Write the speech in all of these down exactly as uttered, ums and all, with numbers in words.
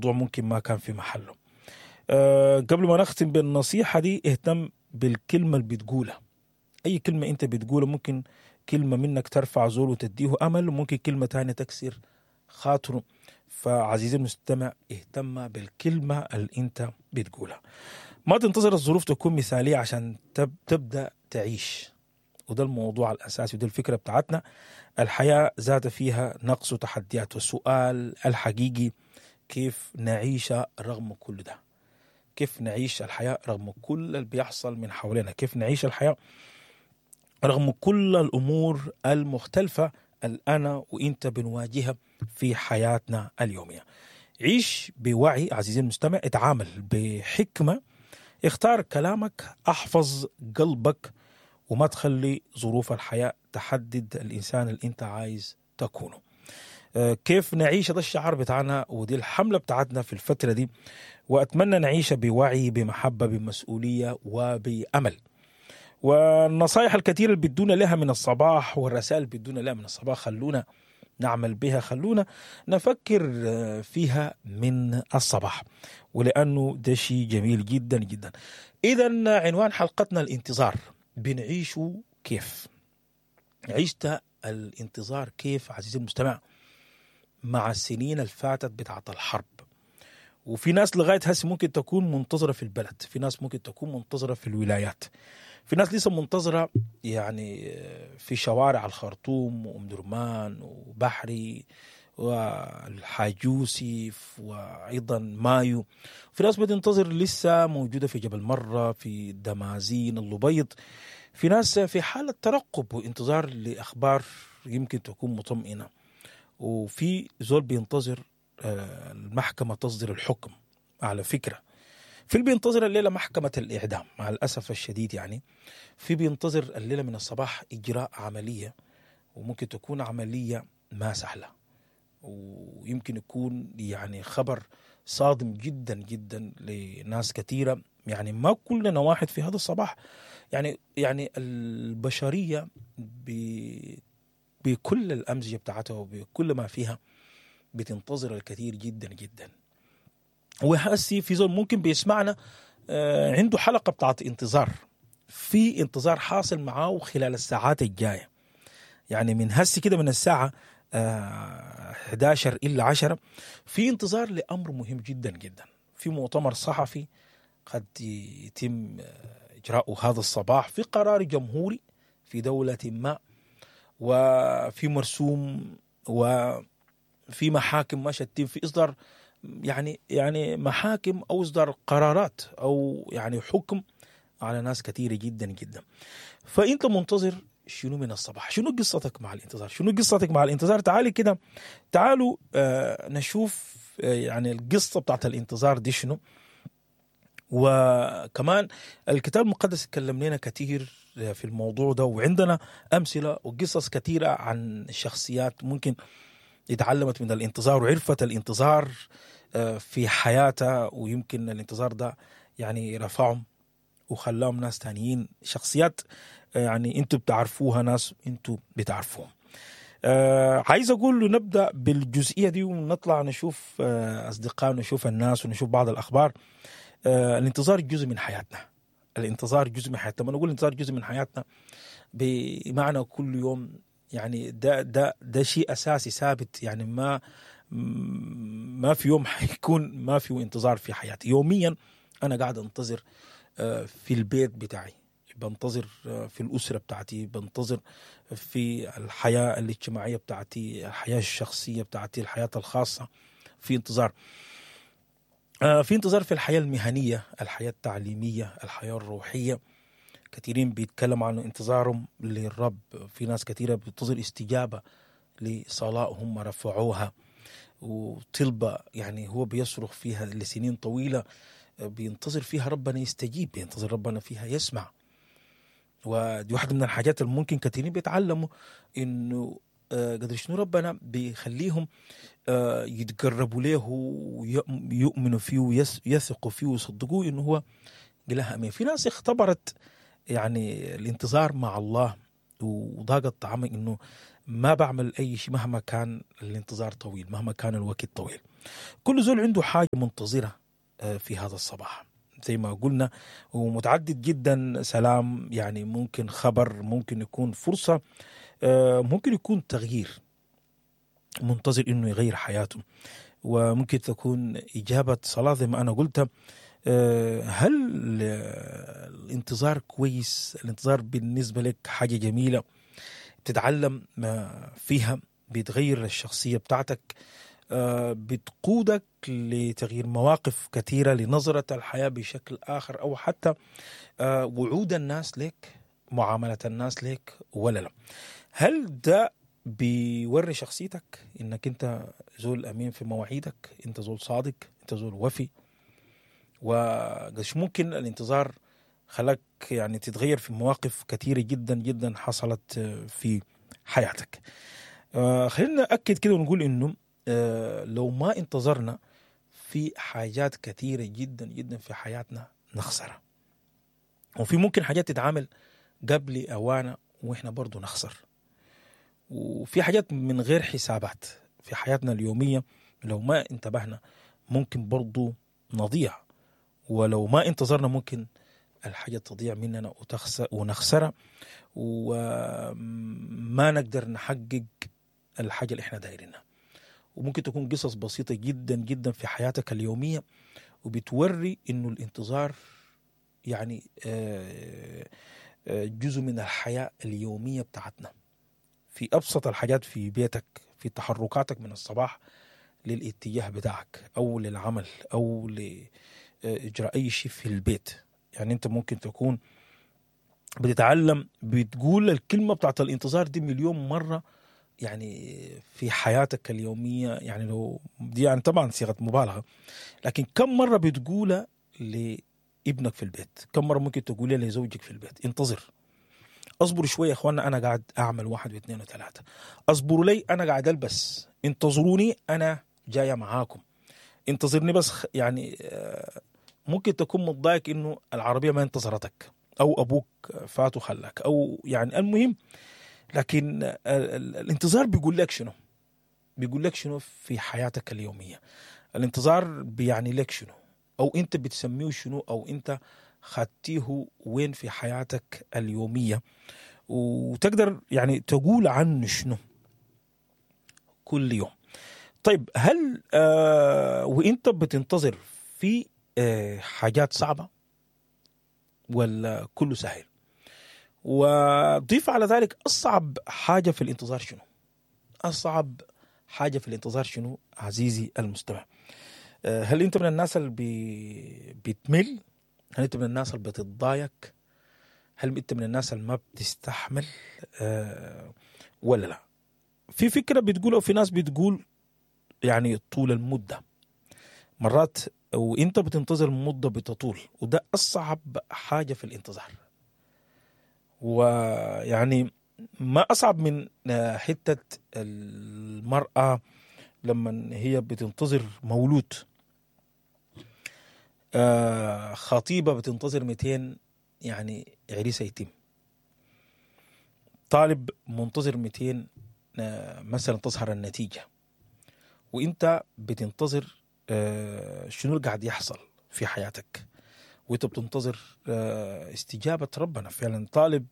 ممكن ما كان في محله. أه قبل ما نختم بالنصيحة دي، اهتم بالكلمة اللي بتقولها. أي كلمة أنت بتقولها، ممكن كلمة منك ترفع زول وتديه أمل، وممكن كلمة تانية تكسر خاطره. فعزيزي المستمع، اهتم بالكلمة اللي أنت بتقولها. ما تنتظر الظروف تكون مثالية عشان تب تبدأ تعيش. وده الموضوع الأساسي وده الفكرة بتاعتنا. الحياة ذات فيها نقص وتحديات، والسؤال الحقيقي كيف نعيش رغم كل ده؟ كيف نعيش الحياة رغم كل اللي بيحصل من حوالينا؟ كيف نعيش الحياة رغم كل الأمور المختلفة اللي أنا وإنت بنواجهها في حياتنا اليومية؟ عيش بوعي عزيزي المستمع، اتعامل بحكمة، اختار كلامك، احفظ قلبك، وما تخلي ظروف الحياة تحدد الإنسان اللي أنت عايز تكونه. آه، كيف نعيش، ده الشعار بتاعنا ودي الحملة بتاعتنا في الفترة دي، وأتمنى نعيش بوعي، بمحبة، بمسؤولية، وبأمل. والنصائح الكثيرة اللي بتدونا لها من الصباح والرسائل اللي بتدونا لها من الصباح، خلونا نعمل بها، خلونا نفكر آه، فيها من الصباح، ولأنه ده شيء جميل جدا جدا. إذا عنوان حلقتنا الانتظار، بنعيشه كيف؟ عشت الانتظار كيف عزيزي المستمع مع السنين الفاتت بتاعت الحرب؟ وفي ناس لغاية هسه ممكن تكون منتظرة في البلد، في ناس ممكن تكون منتظرة في الولايات، في ناس لسه منتظرة يعني في شوارع الخرطوم وأم درمان وبحري والحاج يوسف وأيضا مايو. في ناس بتنتظر لسه موجودة في جبل مرة، في دمازين، اللبيض. في ناس في حالة ترقب وانتظار لأخبار يمكن تكون مطمئنة. وفي زول بينتظر آه، المحكمة تصدر الحكم. على فكرة في اللي بينتظر الليلة محكمة الإعدام مع الأسف الشديد، يعني في بينتظر الليلة من الصباح إجراء عملية، وممكن تكون عملية ما سهلة، ويمكن يكون يعني خبر صادم جدا جدا لناس كثيرة. يعني ما كلنا واحد في هذا الصباح، يعني يعني البشرية ب- بكل الأمزجة بتاعتها وبكل ما فيها بتنتظر الكثير جدا جدا. وهسي في زول ممكن بيسمعنا آه، عنده حلقة بتاعت انتظار، في انتظار حاصل معاه خلال الساعات الجاية، يعني من هسي كده من الساعة آه، إحدى عشر إلا عشرة في انتظار لأمر مهم جدا جدا، في مؤتمر صحفي قد يتم آه، إجراؤه هذا الصباح، في قرار جمهوري في دولة ما، وفي مرسوم، وفي محاكم ما شتين، في إصدار يعني يعني محاكم أو إصدار قرارات أو يعني حكم على ناس كثيرة جدا جدا. فأنت منتظر شنو من الصباح؟ شنو قصتك مع الانتظار؟ شنو قصتك مع الانتظار؟ تعالي كده، تعالوا آه نشوف آه يعني القصة بتاعت الانتظار دي شنو. وكمان الكتاب المقدس اتكلم لنا كثير في الموضوع ده، وعندنا أمثلة وقصص كثيرة عن شخصيات ممكن اتعلمت من الانتظار وعرفت الانتظار آه، في حياتها، ويمكن الانتظار ده يعني رفعهم وخلاهم ناس تانيين، شخصيات آه، يعني انتوا بتعرفوها، ناس انتوا بتعرفوهم. آه عايز اقول له نبدا بالجزئيه دي ونطلع نشوف آه اصدقائنا، نشوف الناس، ونشوف بعض الاخبار. آه الانتظار جزء من حياتنا، الانتظار جزء من حياتنا. لما نقول الانتظار جزء من حياتنا بمعنى كل يوم، يعني ده ده ده شيء اساسي ثابت، يعني ما ما في يوم حيكون ما في انتظار في حياتي. يوميا انا قاعد انتظر آه، في البيت بتاعي، بنتظر آه، في الأسرة بتاعتي، بنتظر في الحياة الاجتماعية بتاعتي، الحياة الشخصية بتاعتي، الحياة الخاصة، في انتظار آه، في انتظار في الحياة المهنية، الحياة التعليمية، الحياة الروحية. كثيرين بيتكلموا عن انتظارهم للرب، في ناس كثيرة بتنتظر استجابة لصلاة هم رفعوها وطلبة يعني هو بيصرخ فيها لسنين طويلة، بينتظر فيها ربنا يستجيب، بينتظر ربنا فيها يسمع. ودي واحدة من الحاجات اللي ممكن كثيرين بيتعلموا انه آه، قدر شنو ربنا بيخليهم آه، يتقربوا له ويؤمنوا فيه ويثقوا فيه ويصدقوه انه هو إله امين. في ناس اختبرت يعني الانتظار مع الله وضاقت طعمه انه ما بعمل اي شيء مهما كان الانتظار طويل، مهما كان الوقت طويل. كل زول عنده حاجة منتظرها في هذا الصباح زي ما قلنا، ومتعدد جدا. سلام يعني ممكن خبر، ممكن يكون فرصة، ممكن يكون تغيير، منتظر انه يغير حياته، وممكن تكون إجابة صلاة زي ما أنا قلت. هل الانتظار كويس؟ الانتظار بالنسبة لك حاجة جميلة بتتعلم فيها، بتغير الشخصية بتاعتك، بتقودك لتغيير مواقف كثيرة، لنظرة الحياة بشكل آخر، أو حتى وعود الناس لك، معاملة الناس لك، ولا لا؟ هل ده بيوري شخصيتك انك انت زول امين في مواعيدك، انت زول صادق، انت زول وفي؟ وقش ممكن الانتظار خلاك يعني تتغير في مواقف كثيرة جدا جدا حصلت في حياتك. آه خلينا نأكد كده ونقول انه آه لو ما انتظرنا في حاجات كثيرة جدا جدا في حياتنا نخسرها، وفي ممكن حاجات تتعامل قبل أوانا وإحنا برضو نخسر، وفي حاجات من غير حسابات في حياتنا اليومية لو ما انتبهنا ممكن برضو نضيع، ولو ما انتظرنا ممكن الحاجة تضيع مننا وتخسر ونخسرها وما نقدر نحقق الحاجة اللي احنا دايرينها. وممكن تكون قصص بسيطة جدا جدا في حياتك اليومية وبتوري انه الانتظار يعني جزء من الحياة اليومية بتاعتنا، في أبسط الحاجات في بيتك، في تحركاتك من الصباح للاتجاه بتاعك أو للعمل أو لإجراء أي شيء في البيت. يعني أنت ممكن تكون بتتعلم بتقول الكلمة بتاعت الانتظار دي مليون مرة يعني في حياتك اليومية، يعني لو دي يعني طبعا صيغة مبالغة، لكن كم مرة بتقولها لابنك في البيت؟ كم مرة ممكن تقولها لزوجك في البيت؟ انتظر، اصبروا شوية يا اخوانا، انا قاعد اعمل واحد واثنين وثلاثة، اصبروا لي انا قاعد البس، انتظروني انا جاية معاكم، انتظرني بس. يعني ممكن تكون متضايق انه العربية ما انتظرتك، او ابوك فات وخلاك، او يعني المهم، لكن الانتظار بيقول لك شنو؟ بيقول لك شنو في حياتك اليومية؟ الانتظار بيعني لك شنو؟ او انت بتسميه شنو؟ او انت خدتيه وين في حياتك اليومية؟ وتقدر يعني تقول عنه شنو كل يوم؟ طيب هل آه وانت بتنتظر في آه حاجات صعبة ولا كله سهل؟ وضيف على ذلك أصعب حاجة في الانتظار شنو؟ أصعب حاجة في الانتظار شنو عزيزي المستمع؟ آه هل انت من الناس اللي بي بتمل؟ هل انت من الناس اللي بتتضايق؟ هل انت من الناس اللي ما بتستحمل آه ولا لا؟ في فكرة بتقول أو في ناس بتقول يعني طول المدة، مرات وانت بتنتظر المدة بتطول، وده أصعب حاجة في الانتظار. ويعني ما أصعب من حتة المرأة لما هي بتنتظر مولود، خطيبة بتنتظر مئتين يعني عريسة يتم، طالب منتظر مئتين مثلا تظهر النتيجة، وانت بتنتظر شنو اللي قاعد يحصل في حياتك، وانت بتنتظر استجابة ربنا. فعلا طالب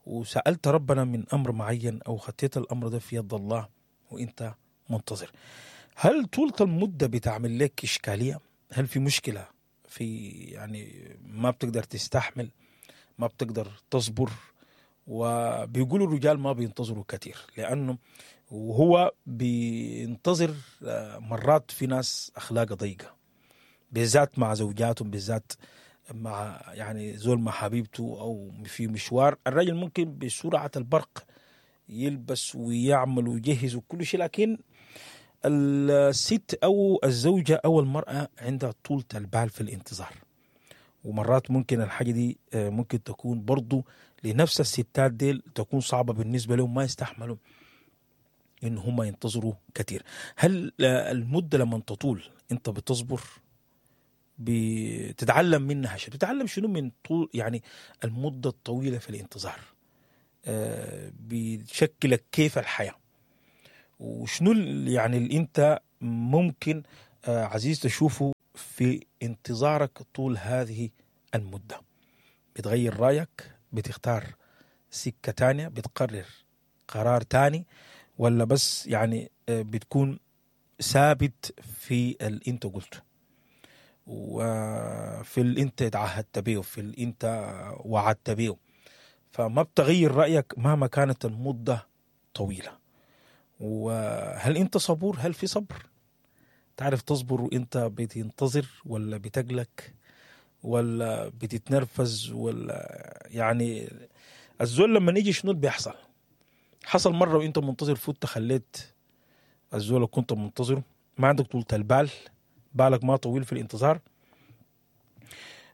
وسألت ربنا من أمر معين أو خطيت الأمر ده في يد الله وانت منتظر. هل طولة المدة بتعمل لك إشكالية؟ هل في مشكلة في يعني ما بتقدر تستحمل، ما بتقدر تصبر؟ وبيقولوا الرجال ما بينتظروا كثير، لأنه وهو بينتظر مرات في ناس أخلاقها ضيقة، بالذات مع زوجاتهم، بالذات مع يعني زول مع حبيبته أو في مشوار. الرجل ممكن بسرعة البرق يلبس ويعمل ويجهز وكل شيء، لكن الست أو الزوجة أو المرأة عندها طولة البال في الانتظار. ومرات ممكن الحاجة دي ممكن تكون برضو لنفس الستات ديل تكون صعبة بالنسبة لهم، ما يستحملوا إن هم ينتظروا كثير. هل المدة لما تطول أنت بتصبر، بتتعلم منها شيء؟ بتتعلم شنو من طول يعني المدة الطويلة في الانتظار؟ آه، بتشكلك كيف الحياة، وشنو ال- يعني اللي انت ممكن آه، عزيز تشوفه في انتظارك طول هذه المدة. بتغير رأيك، بتختار سكة تانية، بتقرر قرار تاني، ولا بس يعني آه، بتكون ثابت في اللي انت قلته وفي اللي انت اتعهدت بيه وفي اللي انت وعدت بيه. فما بتغير رأيك مهما كانت المدة طويلة. وهل انت صبور؟ هل في صبر؟ تعرف تصبر وانت بتنتظر، ولا بتقلق، ولا بتتنرفز، ولا يعني الزول لما يجي شنو اللي بيحصل؟ حصل مرة وانت منتظر فوت خليت الزول اللي كنت منتظره، ما عندك طولة البال، بالك ما طويل في الانتظار.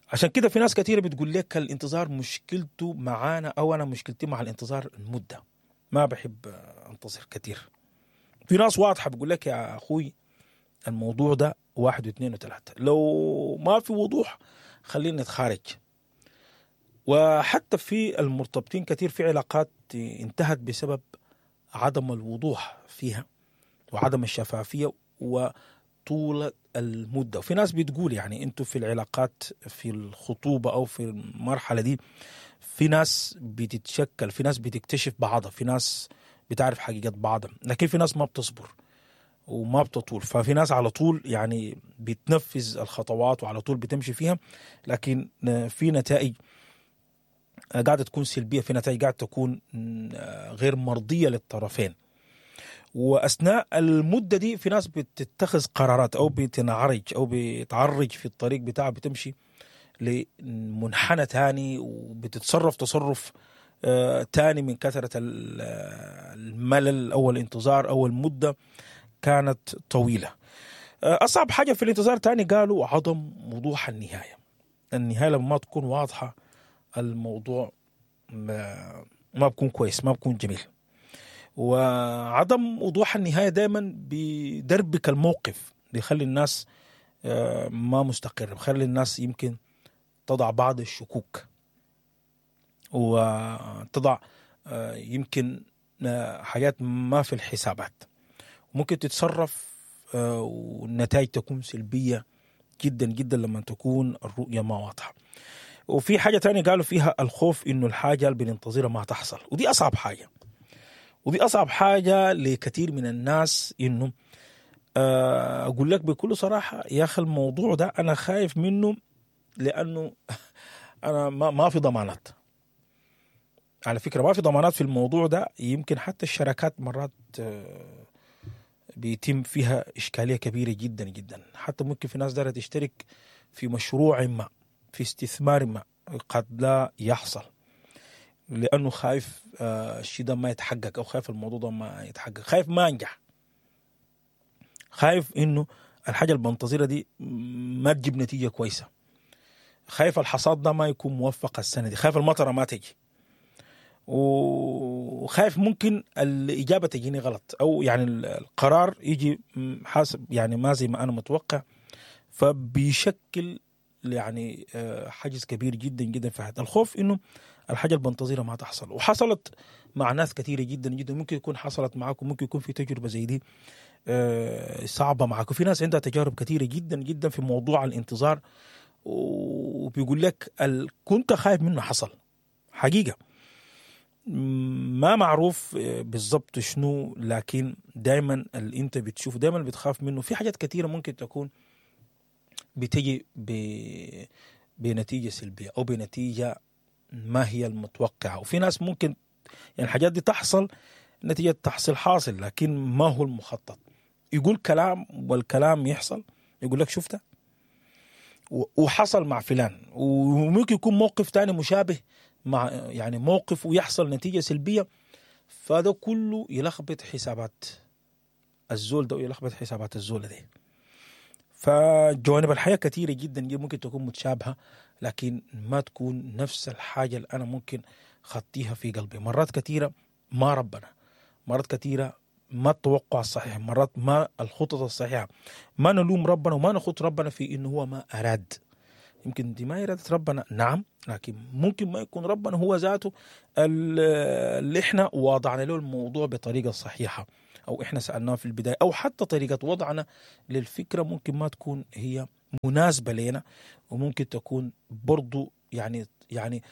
عشان كده في ناس كثيرة بتقول لك الانتظار مشكلته معانا، او انا مشكلتي مع الانتظار المدة، ما بحب انتظر كثير. في ناس واضحة بتقول لك يا اخوي الموضوع ده واحد واثنين وثلاثة، لو ما في وضوح خلينا نتخارج. وحتى في المرتبطين كثير في علاقات انتهت بسبب عدم الوضوح فيها وعدم الشفافية وطول المدة. وفي ناس بتقول يعني انتوا في العلاقات في الخطوبة او في المرحلة دي في ناس بتتشكل، في ناس بتكتشف بعضها، في ناس بتعرف حقيقة بعضها، لكن في ناس ما بتصبر وما بتطول. ففي ناس على طول يعني بتنفذ الخطوات وعلى طول بتمشي فيها، لكن في نتائج قاعدة تكون سلبية، في نتائج قاعدة تكون غير مرضية للطرفين. وأثناء المدة دي في ناس بتتخذ قرارات أو بتنعرج أو بتعرج في الطريق بتاعها، بتمشي لمنحنى تاني وبتتصرف تصرف تاني من كثرة الملل أو الانتظار أو المدة كانت طويلة. أصعب حاجة في الانتظار تاني قالوا عدم وضوح النهاية. النهاية لما تكون واضحة الموضوع ما, ما بكون كويس، ما بكون جميل. وعدم وضوح النهاية دايما بيدربك الموقف، بيخلي الناس ما مستقر، بيخلي الناس يمكن تضع بعض الشكوك وتضع يمكن حاجات ما في الحسابات، ممكن تتصرف والنتائج تكون سلبية جدا جدا لما تكون الرؤية ما واضحة. وفي حاجة تانية قالوا فيها الخوف إنه الحاجة اللي بننتظرها ما تحصل، ودي أصعب حاجة، ودي أصعب حاجة لكثير من الناس. إنه أقول لك بكل صراحة يا أخي الموضوع ده أنا خايف منه، لأنه أنا ما, ما في ضمانات. على فكرة ما في ضمانات في الموضوع ده، يمكن حتى الشراكات مرات بيتم فيها إشكالية كبيرة جدا جدا. حتى ممكن في ناس دارت تشترك في مشروع ما، في استثمار ما، قد لا يحصل لأنه خايف الشيء ده ما يتحقق، أو خايف الموضوع ده ما يتحقق، خايف ما أنجح، خايف إنه الحاجة اللي بنتظرها دي ما تجيب نتيجة كويسة، خايف الحصاد ده ما يكون موفق السنة دي، خايف المطرة ما تجي، وخايف ممكن الإجابة تجيني غلط، أو يعني القرار يجي حاسب يعني ما زي ما أنا متوقع. فبيشكل يعني حاجز كبير جدا جدا في حياتنا، الخوف إنه الحاجة اللي بنتظرها ما تحصل. وحصلت مع ناس كثيرة جدا جدا، ممكن يكون حصلت معاكم، ممكن يكون في تجربة زي دي صعبة معاكم. في ناس عندها تجارب كثيرة جدا جدا في موضوع الانتظار، وبيقول لك كنت خايف منه حصل حقيقة، ما معروف بالضبط شنو، لكن دايما اللي انت بتشوفه دايما بتخاف منه. في حاجات كثيرة ممكن تكون بتجي ب... بنتيجة سلبية أو بنتيجة ما هي المتوقعة، وفي ناس ممكن يعني الحاجات دي تحصل نتيجة تحصل حاصل، لكن ما هو المخطط. يقول كلام والكلام يحصل، يقول لك شفته وحصل مع فلان، وممكن يكون موقف تاني مشابه مع يعني موقف ويحصل نتيجة سلبية. فده كله يلخبط حسابات الزول ده ويلخبط حسابات الزول ده. فجوانب الحياة كثيرة جدا ممكن تكون متشابهة، لكن ما تكون نفس الحاجة اللي أنا ممكن خطيها في قلبي. مرات كثيرة ما ربنا، مرات كثيرة ما التوقع الصحيح، مرات ما الخطط الصحيحة. ما نلوم ربنا وما نخط ربنا في إنه هو ما أراد، يمكن دي ما إرادة ربنا، نعم، لكن ممكن ما يكون ربنا هو ذاته اللي احنا وضعنا له الموضوع بطريقة صحيحة، أو احنا سألناه في البداية، أو حتى طريقة وضعنا للفكرة ممكن ما تكون هي مناسبة لنا، وممكن تكون برضو يعني يعني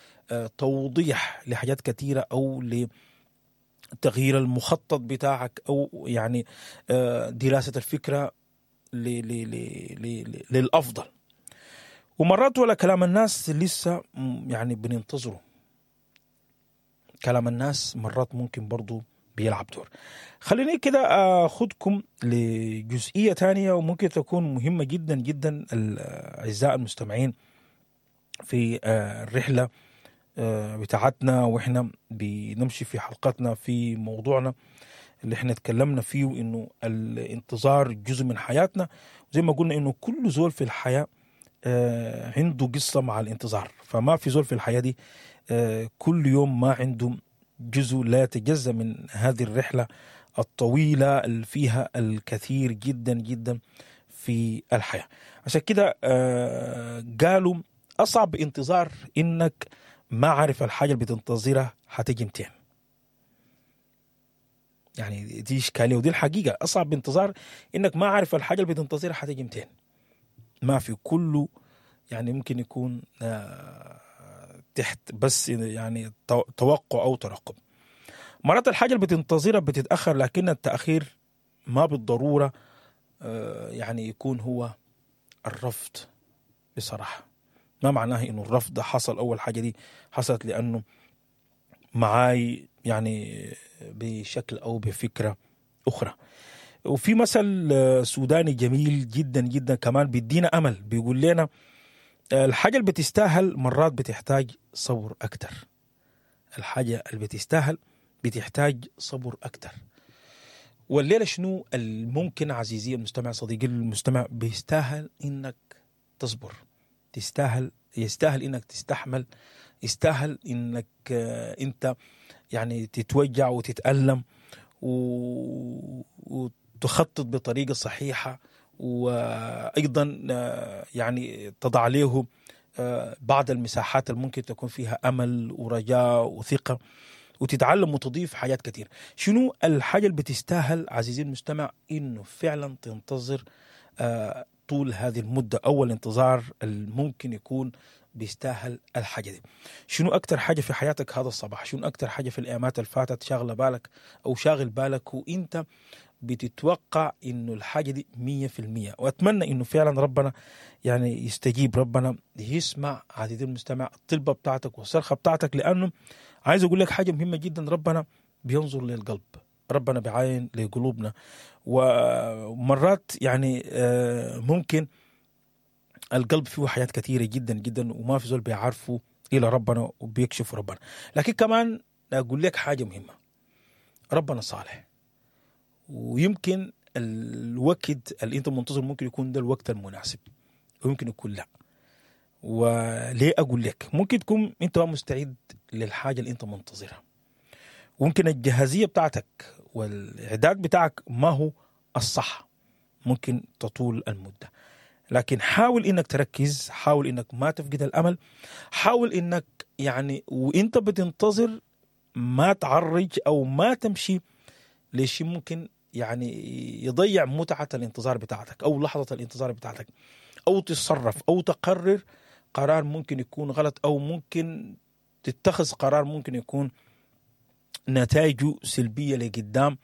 توضيح لحاجات كثيرة، أو لتغيير المخطط بتاعك، أو يعني دراسة الفكرة للأفضل. ومرات ولا كلام الناس لسه يعني بننتظره، كلام الناس مرات ممكن برضو بيلعب دور. خليني كده أخذكم لجزئية تانية وممكن تكون مهمة جدا جدا أعزائي المستمعين في الرحلة بتاعتنا وإحنا بنمشي في حلقتنا في موضوعنا اللي احنا اتكلمنا فيه، إنه الانتظار جزء من حياتنا. زي ما قلنا إنه كل زول في الحياة عنده قصة مع الانتظار، فما في زول في الحياة دي كل يوم ما عنده جزء لا يتجزأ من هذه الرحلة الطويلة اللي فيها الكثير جدا جدا في الحياة. عشان كده قالوا أصعب انتظار إنك ما عارف الحاجة اللي بتنتظرها هتجي متين. يعني دي إشكالية ودي الحقيقة، أصعب انتظار إنك ما عارف الحاجة اللي بتنتظرها هتجي متين. ما في كله يعني ممكن يكون تحت بس يعني توقع أو ترقب. مرات الحاجة اللي بتنتظرها بتتأخر، لكن التأخير ما بالضرورة يعني يكون هو الرفض. بصراحة ما معناه إنه الرفض حصل، أول حاجة دي حصلت لأنه معاي يعني بشكل أو بفكرة أخرى. وفي مثل سوداني جميل جدا جدا كمان بيدينا أمل، بيقول لنا الحاجة اللي بتستاهل مرات بتحتاج صبر أكتر. الحاجة اللي بتستاهل بتحتاج صبر أكتر. والليلة شنو الممكن عزيزي المستمع، صديقي المستمع، بيستاهل إنك تصبر، تستاهل، يستاهل إنك تستحمل، يستاهل إنك أنت يعني تتوجع وتتألم وتخطط بطريقة صحيحة، وأيضا يعني تضع عليه بعض المساحات اللي ممكن تكون فيها أمل ورجاء وثقة، وتتعلم وتضيف حاجات كتير. شنو الحاجة اللي بتستاهل عزيزي المستمع إنه فعلا تنتظر طول هذه المدة، أول انتظار الممكن يكون بيستاهل الحاجة دي؟ شنو أكتر حاجة في حياتك هذا الصباح، شنو أكتر حاجة في الأيامات اللي فاتت شاغلة بالك أو شاغل بالك وإنت بتتوقع إنه الحاجة دي مية في المية؟ وأتمنى إنه فعلا ربنا يعني يستجيب، ربنا يسمع عزيزي المستمع الطلبة بتاعتك والصرخة بتاعتك، لأنه عايز أقول لك حاجة مهمة جدا، ربنا بينظر للقلب، ربنا بيعاين لقلوبنا. ومرات يعني ممكن القلب فيه حاجات كثيرة جدا جدا وما في زول بيعرفه إلى ربنا وبيكشف ربنا. لكن كمان أقول لك حاجة مهمة، ربنا صالح، ويمكن الوقت اللي انت منتظر ممكن يكون ده الوقت المناسب ويمكن يكون لا. وليه أقول لك؟ ممكن تكون انت مستعد للحاجة اللي انت منتظرها، وممكن الجاهزية بتاعتك والإعداد بتاعك ما هو الصح، ممكن تطول المدة. لكن حاول انك تركز، حاول انك ما تفقد الامل، حاول انك يعني وانت بتنتظر ما تعرج او ما تمشي ليش ممكن يعني يضيع متعة الانتظار بتاعتك او لحظة الانتظار بتاعتك، او تتصرف او تقرر قرار ممكن يكون غلط، او ممكن تتخذ قرار ممكن يكون نتائجه سلبية لقدام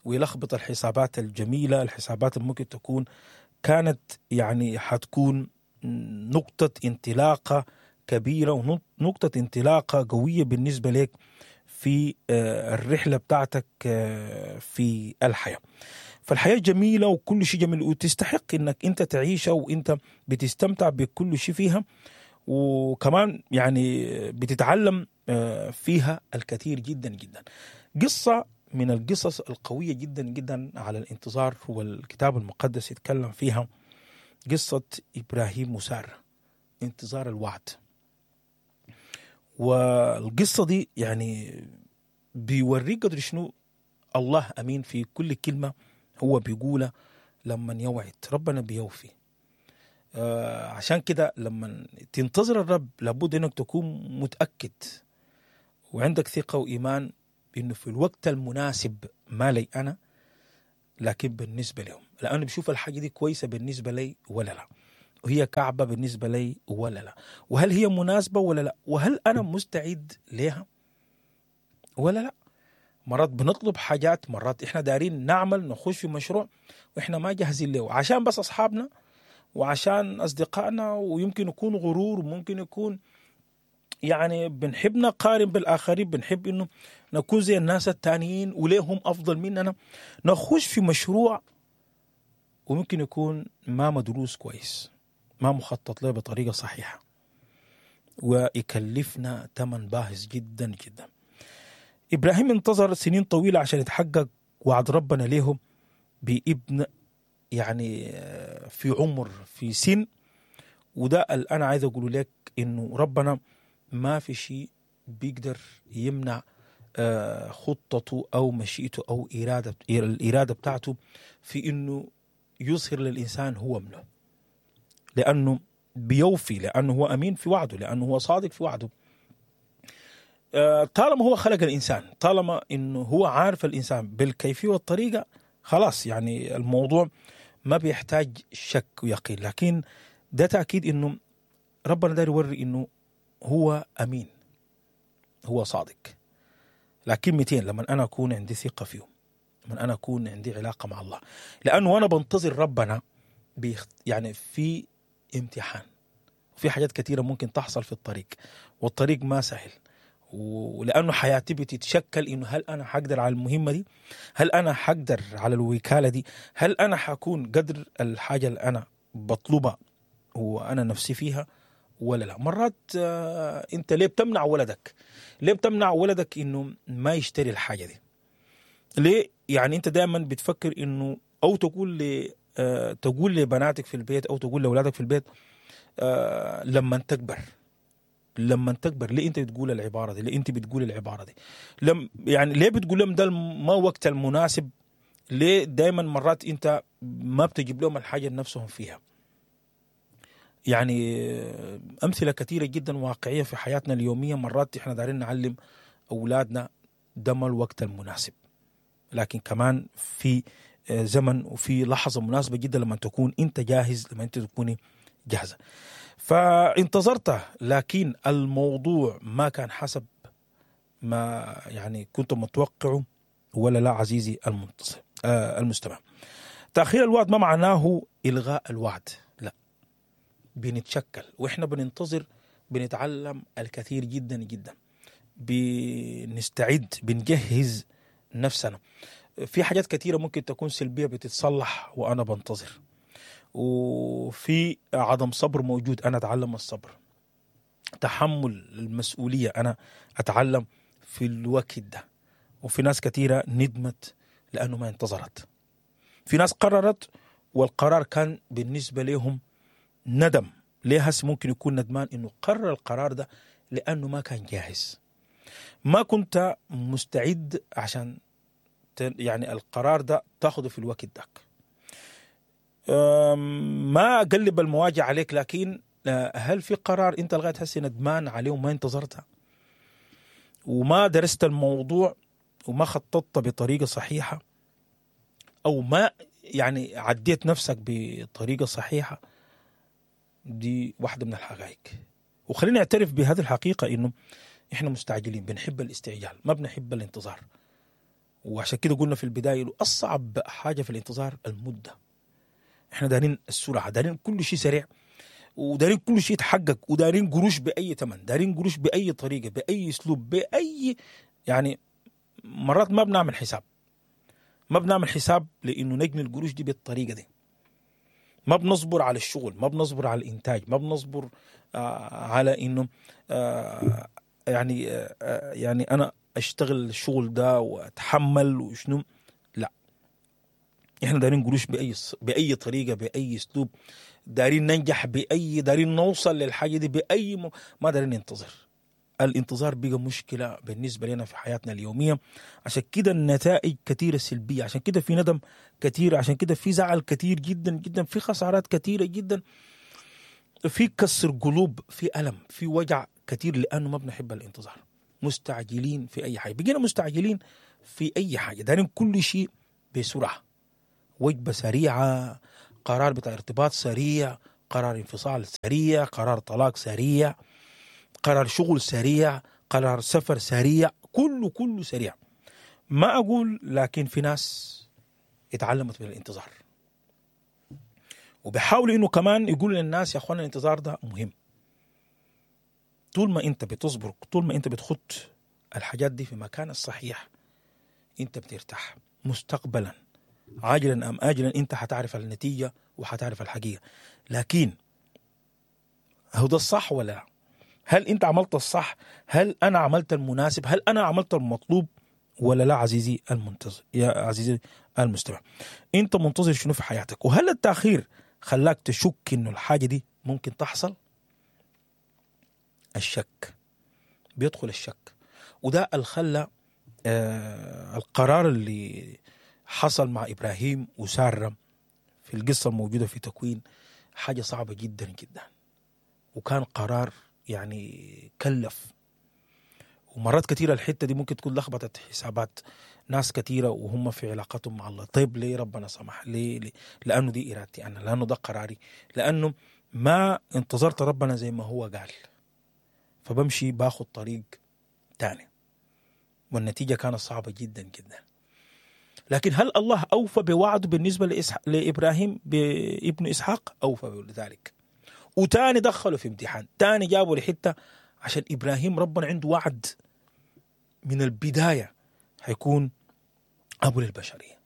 ويلخبط الحسابات الجميلة، الحسابات اللي ممكن تكون كانت يعني حتكون نقطة انطلاقة كبيرة ونقطة انطلاقة قوية بالنسبة لك في الرحلة بتاعتك في الحياة. فالحياة جميلة وكل شيء جميل وتستحق انك انت تعيشها وانت بتستمتع بكل شيء فيها، وكمان يعني بتتعلم فيها الكثير جدا جدا. قصة من القصص القوية جدا جدا على الانتظار والكتاب المقدس يتكلم فيها، قصة إبراهيم وسارة، انتظار الوعد. والقصة دي يعني بيوريك قدر شنو الله أمين في كل كلمة هو بيقولها لما يوعد، ربنا بيوفي. آه عشان كده لما تنتظر الرب لابد انك تكون متأكد وعندك ثقة وإيمان بأنه في الوقت المناسب، ما لي أنا لكن بالنسبة لهم، لأنه بشوف الحاجة دي كويسة بالنسبة لي ولا لا، وهي كعبة بالنسبة لي ولا لا، وهل هي مناسبة ولا لا، وهل أنا مستعد لها ولا لا. مرات بنطلب حاجات، مرات إحنا دارين نعمل نخش في مشروع وإحنا ما جاهزين له، عشان بس أصحابنا وعشان أصدقائنا، ويمكن يكون غرور، وممكن يكون يعني بنحب نقارن بالآخرين، بنحب إنه نكون زي الناس التانيين وليهم أفضل مننا، نخش في مشروع وممكن يكون ما مدروس كويس، ما مخطط له بطريقة صحيحة، ويكلفنا ثمن باهظ جدا جدا. إبراهيم انتظر سنين طويلة عشان يتحقق وعد ربنا له بابن، يعني في عمر في سن. وده اللي أنا عايز أقوله لك، إنه ربنا ما في شيء بيقدر يمنع خطته أو مشيئته أو إرادة الإرادة بتاعته في إنه يظهر للإنسان هو منه، لأنه بيوفي، لأنه هو أمين في وعده، لأنه هو صادق في وعده. طالما هو خلق الإنسان، طالما إنه هو عارف الإنسان بالكيفية والطريقة، خلاص يعني الموضوع ما بيحتاج شك ويقين. لكن ده تأكيد إنه ربنا داير يوري إنه هو أمين، هو صادق. لكن مئتين لما أنا أكون عندي ثقة فيه، لما أنا أكون عندي علاقة مع الله، لأنه أنا بنتظر ربنا بيخت... يعني في امتحان، وفي حاجات كثيرة ممكن تحصل في الطريق، والطريق ما سهل، ولأنه حياتي بتتشكل إنه هل أنا حقدر على المهمة دي؟ هل أنا حقدر على الوكالة دي؟ هل أنا حكون قدر الحاجة اللي أنا بطلبها وأنا نفسي فيها ولا لا؟ مرات آه أنت ليه بتمنع ولدك؟ ليه بتمنع ولدك إنه ما يشتري الحاجة دي؟ ليه؟ يعني أنت دائما بتفكر إنه أو تقول ل آه تقول لبناتك في البيت أو تقول لأولادك في البيت آه لما تكبر، لما تكبر. ليه انت بتقول العبارة دي؟ ليه انت بتقول العبارة دي؟ لم يعني ليه بتقول لهم ده ما وقت المناسب؟ ليه دايما مرات انت ما بتجيب لهم الحاجة نفسهم فيها؟ يعني امثلة كثيرة جدا واقعية في حياتنا اليومية. مرات احنا دارين نعلم اولادنا ده ما الوقت المناسب، لكن كمان في زمن وفي لحظة مناسبة جدا لما تكون انت جاهز، لما انت تكوني جاهزة. فانتظرته، لكن الموضوع ما كان حسب ما يعني كنت متوقعه ولا لا عزيزي المنتصر آه المستمع. تأخير الوعد ما معناه إلغاء الوعد، لا، بنتشكل وإحنا بننتظر، بنتعلم الكثير جدا جدا، بنستعد، بنجهز نفسنا. في حاجات كثيرة ممكن تكون سلبية بتتصلح وأنا بنتظر، وفي عدم صبر موجود، أنا أتعلم الصبر، تحمل المسؤولية أنا أتعلم في الوقت ده. وفي ناس كثيرة ندمت لأنه ما انتظرت، في ناس قررت والقرار كان بالنسبة لهم ندم. ليه هس ممكن يكون ندمان إنه قرر القرار ده؟ لأنه ما كان جاهز، ما كنت مستعد عشان يعني القرار ده تاخده في الوقت ده. ما أقلب المواجع عليك، لكن هل في قرار أنت لغاية هسه ندمان عليه وما انتظرته وما درست الموضوع وما خططت بطريقة صحيحة، أو ما يعني عديت نفسك بطريقة صحيحة؟ دي واحدة من الحقائق. وخلينا نعترف بهذه الحقيقة إنه إحنا مستعجلين، بنحب الاستعجال، ما بنحب الانتظار. وعشان كده قلنا في البداية أصعب حاجة في الانتظار المدة. احنا دارين السرعة، دارين كل شيء سريع، ودارين كل شيء يتحقق، ودارين قروش بأي ثمن، دارين قروش بأي طريقة، بأي أسلوب، بأي يعني مرات ما بنعمل حساب، ما بنعمل حساب لأنه نجني القروش دي بالطريقة دي. ما بنصبر على الشغل، ما بنصبر على الإنتاج، ما بنصبر آه على إنه آه يعني آه يعني أنا أشتغل الشغل ده وأتحمل وشنو. لا، احنا دارين قروش بأي بأي طريقة، بأي أسلوب، دارين ننجح بأي، دارين نوصل للحاجة دي بأي م... ما دارين ننتظر. الانتظار بقى مشكلة بالنسبة لنا في حياتنا اليومية. عشان كده النتائج كثيرة سلبية، عشان كده في ندم كثير، عشان كده في زعل كثير جدا جدا، في خسارات كثيرة جدا. في كسر قلوب، في ألم، في وجع كثير، لأنه ما بنحب الانتظار. مستعجلين في أي حاجة، بقينا مستعجلين في أي حاجة، دارين كل شيء بسرعة، وجبة سريعة، قرار بتاع ارتباط سريع، قرار انفصال سريع، قرار طلاق سريع، قرار شغل سريع، قرار سفر سريع، كله كله سريع. ما أقول لكن في ناس اتعلمت من الانتظار، وبيحاولوا إنه كمان يقولوا للناس يا أخوانا الانتظار ده مهم. طول ما أنت بتصبر، طول ما أنت بتخط الحاجات دي في مكان الصحيح، أنت بترتاح مستقبلا، عاجلا أم آجلا أنت حتعرف النتيجة وحتعرف الحقيقة. لكن هو ده الصح ولا لا؟ هل أنت عملت الصح؟ هل أنا عملت المناسب؟ هل أنا عملت المطلوب ولا لا؟ عزيزي المنتظر، يا عزيزي المستمع، أنت منتظر شنو في حياتك؟ وهل التأخير خلاك تشك إنه الحاجة دي ممكن تحصل؟ الشك بيدخل الشك، وده اللي خلى آه القرار اللي حصل مع إبراهيم وسارة في القصة الموجودة في تكوين حاجة صعبة جدا جدا، وكان قرار يعني كلف. ومرات كثيرة الحتة دي ممكن تكون لخبطت حسابات ناس كثيرة وهم في علاقتهم مع الله. طيب ليه ربنا سمح؟ ليه؟ ليه؟ لأنه دي إرادتي أنا، لأنه ده قراري، لأنه ما انتظرت ربنا زي ما هو قال، فبمشي باخد طريق تاني، والنتيجة كانت صعبة جدا جدا. لكن هل الله أوفى بوعده بالنسبة لإسح... لإبراهيم بابن إسحاق؟ أوفى بذلك، وتاني دخلوا في امتحان، تاني جابوا لحتة عشان إبراهيم ربنا عنده وعد من البداية هيكون أبو للبشرية.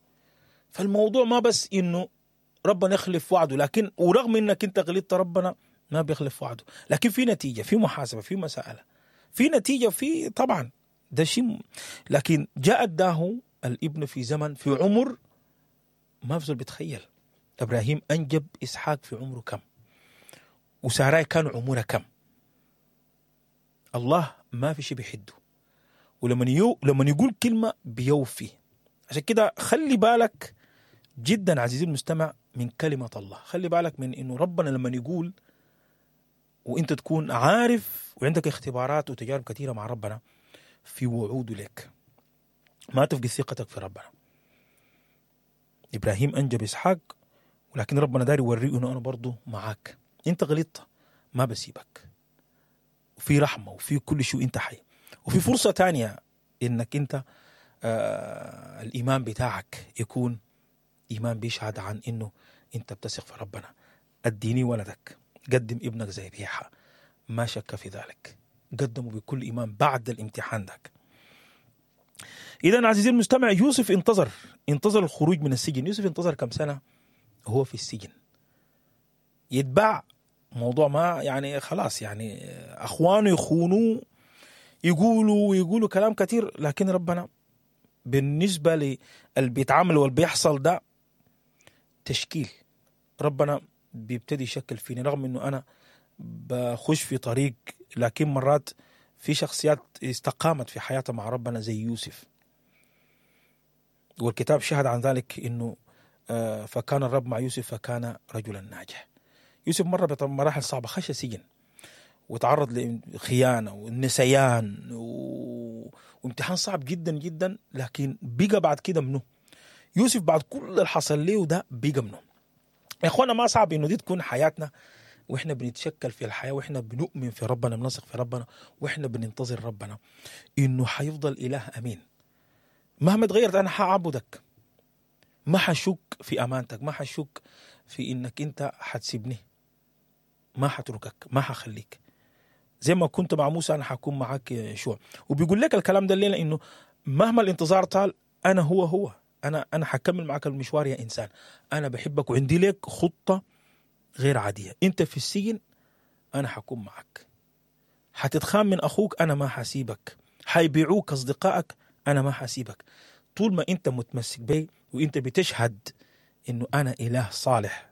فالموضوع ما بس إنه ربنا يخلف وعده، لكن ورغم إنك أنت غلطت ربنا ما بيخلف وعده، لكن في نتيجة، في محاسبة، في مسألة، في نتيجة، في طبعا ده شيء. لكن جاء داه الابن في زمن، في عمر ما في زول بيتخيل. إبراهيم أنجب إسحاق في عمره كم، وساراي كان عمره كم. الله ما في شيء بيحده، ولما يو لما يقول كلمة بيوفي. عشان كده خلي بالك جدا عزيزي المستمع من كلمة الله، خلي بالك من إنه ربنا لما يقول وإنت تكون عارف وعندك اختبارات وتجارب كثيرة مع ربنا في وعوده لك، ما تفقد ثقتك في ربنا. إبراهيم أنجب إسحاق، ولكن ربنا داري يوريه إنه أنا برضو معاك، أنت غلطت ما بسيبك، وفي رحمة وفي كل شيء، أنت حي، وفي فرصة تانية إنك أنت آه الإيمان بتاعك يكون إيمان بيشهد عن إنه أنت بتثق في ربنا. أديني ولدك، قدم ابنك زي ذبيحة، ما شك في ذلك، قدمه بكل إيمان بعد الامتحان ذاك. إذن عزيزي المستمع، يوسف انتظر انتظر الخروج من السجن. يوسف انتظر كم سنة هو في السجن يتباع، موضوع ما يعني خلاص، يعني أخوانه يخونوه، يقولوا ويقولوا كلام كثير، لكن ربنا بالنسبة للي بيتعامل واللي بيحصل ده تشكيل، ربنا بيبتدي يشكل فيني، رغم انه انا بخش في طريق، لكن مرات في شخصيات استقامت في حياتها مع ربنا زي يوسف، والكتاب شهد عن ذلك انه فكان الرب مع يوسف فكان رجلا ناجح. يوسف مر بمراحل صعبة، خش سجن وتعرض لخيانة والنسيان و... وامتحان صعب جدا جدا، لكن بقى بعد كده منه يوسف بعد كل اللي حصل له ده بقى منه. يا اخوانا ما صعب انه دي تكون حياتنا، واحنا بنتشكل في الحياة، واحنا بنؤمن في ربنا، بنثق في ربنا، واحنا بننتظر ربنا انه حيفضل اله امين. مهما تغيرت انا حاعبدك، ما حشك في امانتك، ما حشك في انك انت حتسيبني، ما حتركك، ما حخليك. زي ما كنت مع موسى انا حكون معاك يا يشوع. وبيقول لك الكلام ده الليله انه مهما الانتظار طال انا هو هو انا انا حكمل معاك المشوار يا انسان، انا بحبك وعندي لك خطه غير عاديه. انت في السجن انا حكون معك، حتتخان من اخوك انا ما حسيبك، حيبيعوك اصدقائك انا ما حسيبك. طول ما انت متمسك بي وانت بتشهد انه انا اله صالح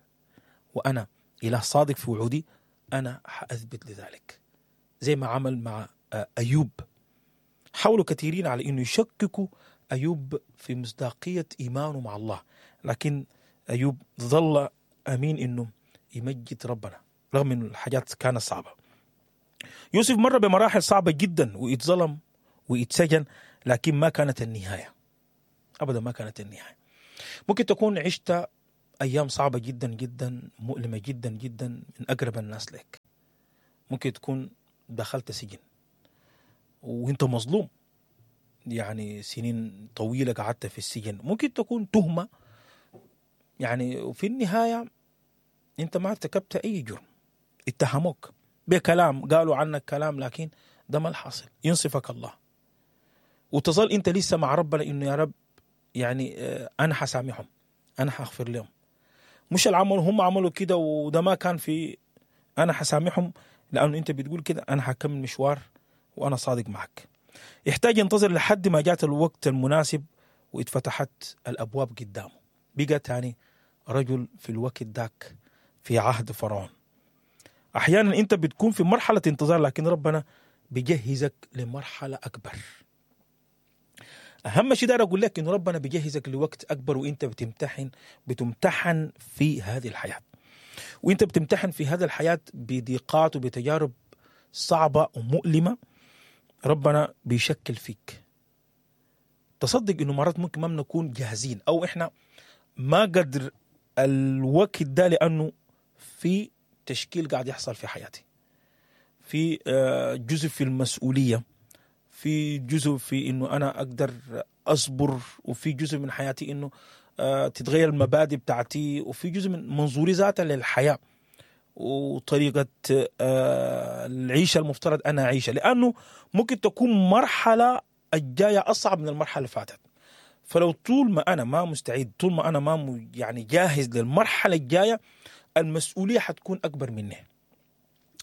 وانا اله صادق في وعودي، انا حاثبت لذلك. زي ما عمل مع أيوب، حاولوا كثيرين على إنه يشككوا أيوب في مصداقية إيمانه مع الله، لكن أيوب ظل أمين إنه يمجد ربنا. رغم انه الحاجات كانت صعبة. يوسف مر بمراحل صعبة جدا واتظلم واتسجن، لكن ما كانت النهاية، ابدا ما كانت النهاية. ممكن تكون عشت ايام صعبة جدا جدا، مؤلمة جدا جدا من اقرب الناس لك. ممكن تكون دخلت سجن وانت مظلوم، يعني سنين طويلة قعدت في السجن. ممكن تكون تهمه، يعني وفي النهاية انت ما ارتكبت اي جرم، اتهموك بكلام، قالوا عنك كلام، لكن ده ما الحاصل. ينصفك الله وتظل انت لسه مع ربنا انه يا رب يعني انا حسامحهم، انا حغفر لهم، مش العمل هم عملوا كده وده ما كان في، انا حسامحهم لانه انت بتقول كده، انا حكمل مشوار وانا صادق معك. يحتاج ينتظر لحد ما جات الوقت المناسب واتفتحت الابواب قدامه. بقى تاني رجل في الوقت داك في عهد فرعون. احيانا انت بتكون في مرحلة انتظار، لكن ربنا بيجهزك لمرحلة اكبر. اهم شيء داير اقول لك انه ربنا بيجهزك لوقت اكبر، وانت بتمتحن بتمتحن في هذه الحياة، وانت بتمتحن في هذه الحياة بضيقات وبتجارب صعبة ومؤلمة. ربنا بيشكل فيك. تصدق انه مرات ممكن ما بنكون جاهزين، او احنا ما قدر الوقت ده، لانه في تشكيل قاعد يحصل في حياتي، في جزء في المسؤولية، في جزء في انه انا اقدر اصبر، وفي جزء من حياتي انه تتغير المبادئ بتاعتي، وفي جزء من منظوري ذاته للحياة وطريقة العيشة المفترض أنا أعيشها، لأنه ممكن تكون مرحلة الجاية أصعب من المرحلة اللي فاتت. فلو طول ما أنا ما مستعد، طول ما أنا ما يعني جاهز للمرحلة الجاية، المسؤولية حتكون أكبر مني.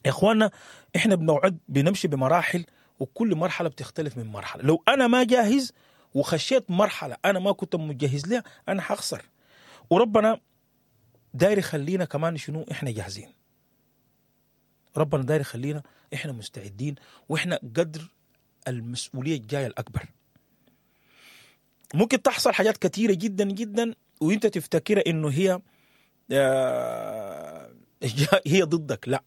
يا إخواننا إحنا بنوعد بنمشي بمراحل، وكل مرحلة بتختلف من مرحلة. لو أنا ما جاهز وخشيت مرحلة أنا ما كنت مجهز لها، أنا حخسر. وربنا داير يخلينا كمان شنو إحنا جاهزين. ربنا داير يخلينا إحنا مستعدين، وإحنا قدر المسؤولية الجاية الأكبر. ممكن تحصل حاجات كثيرة جدا جدا وإنت تفتكر إنه هي هي ضدك. لا،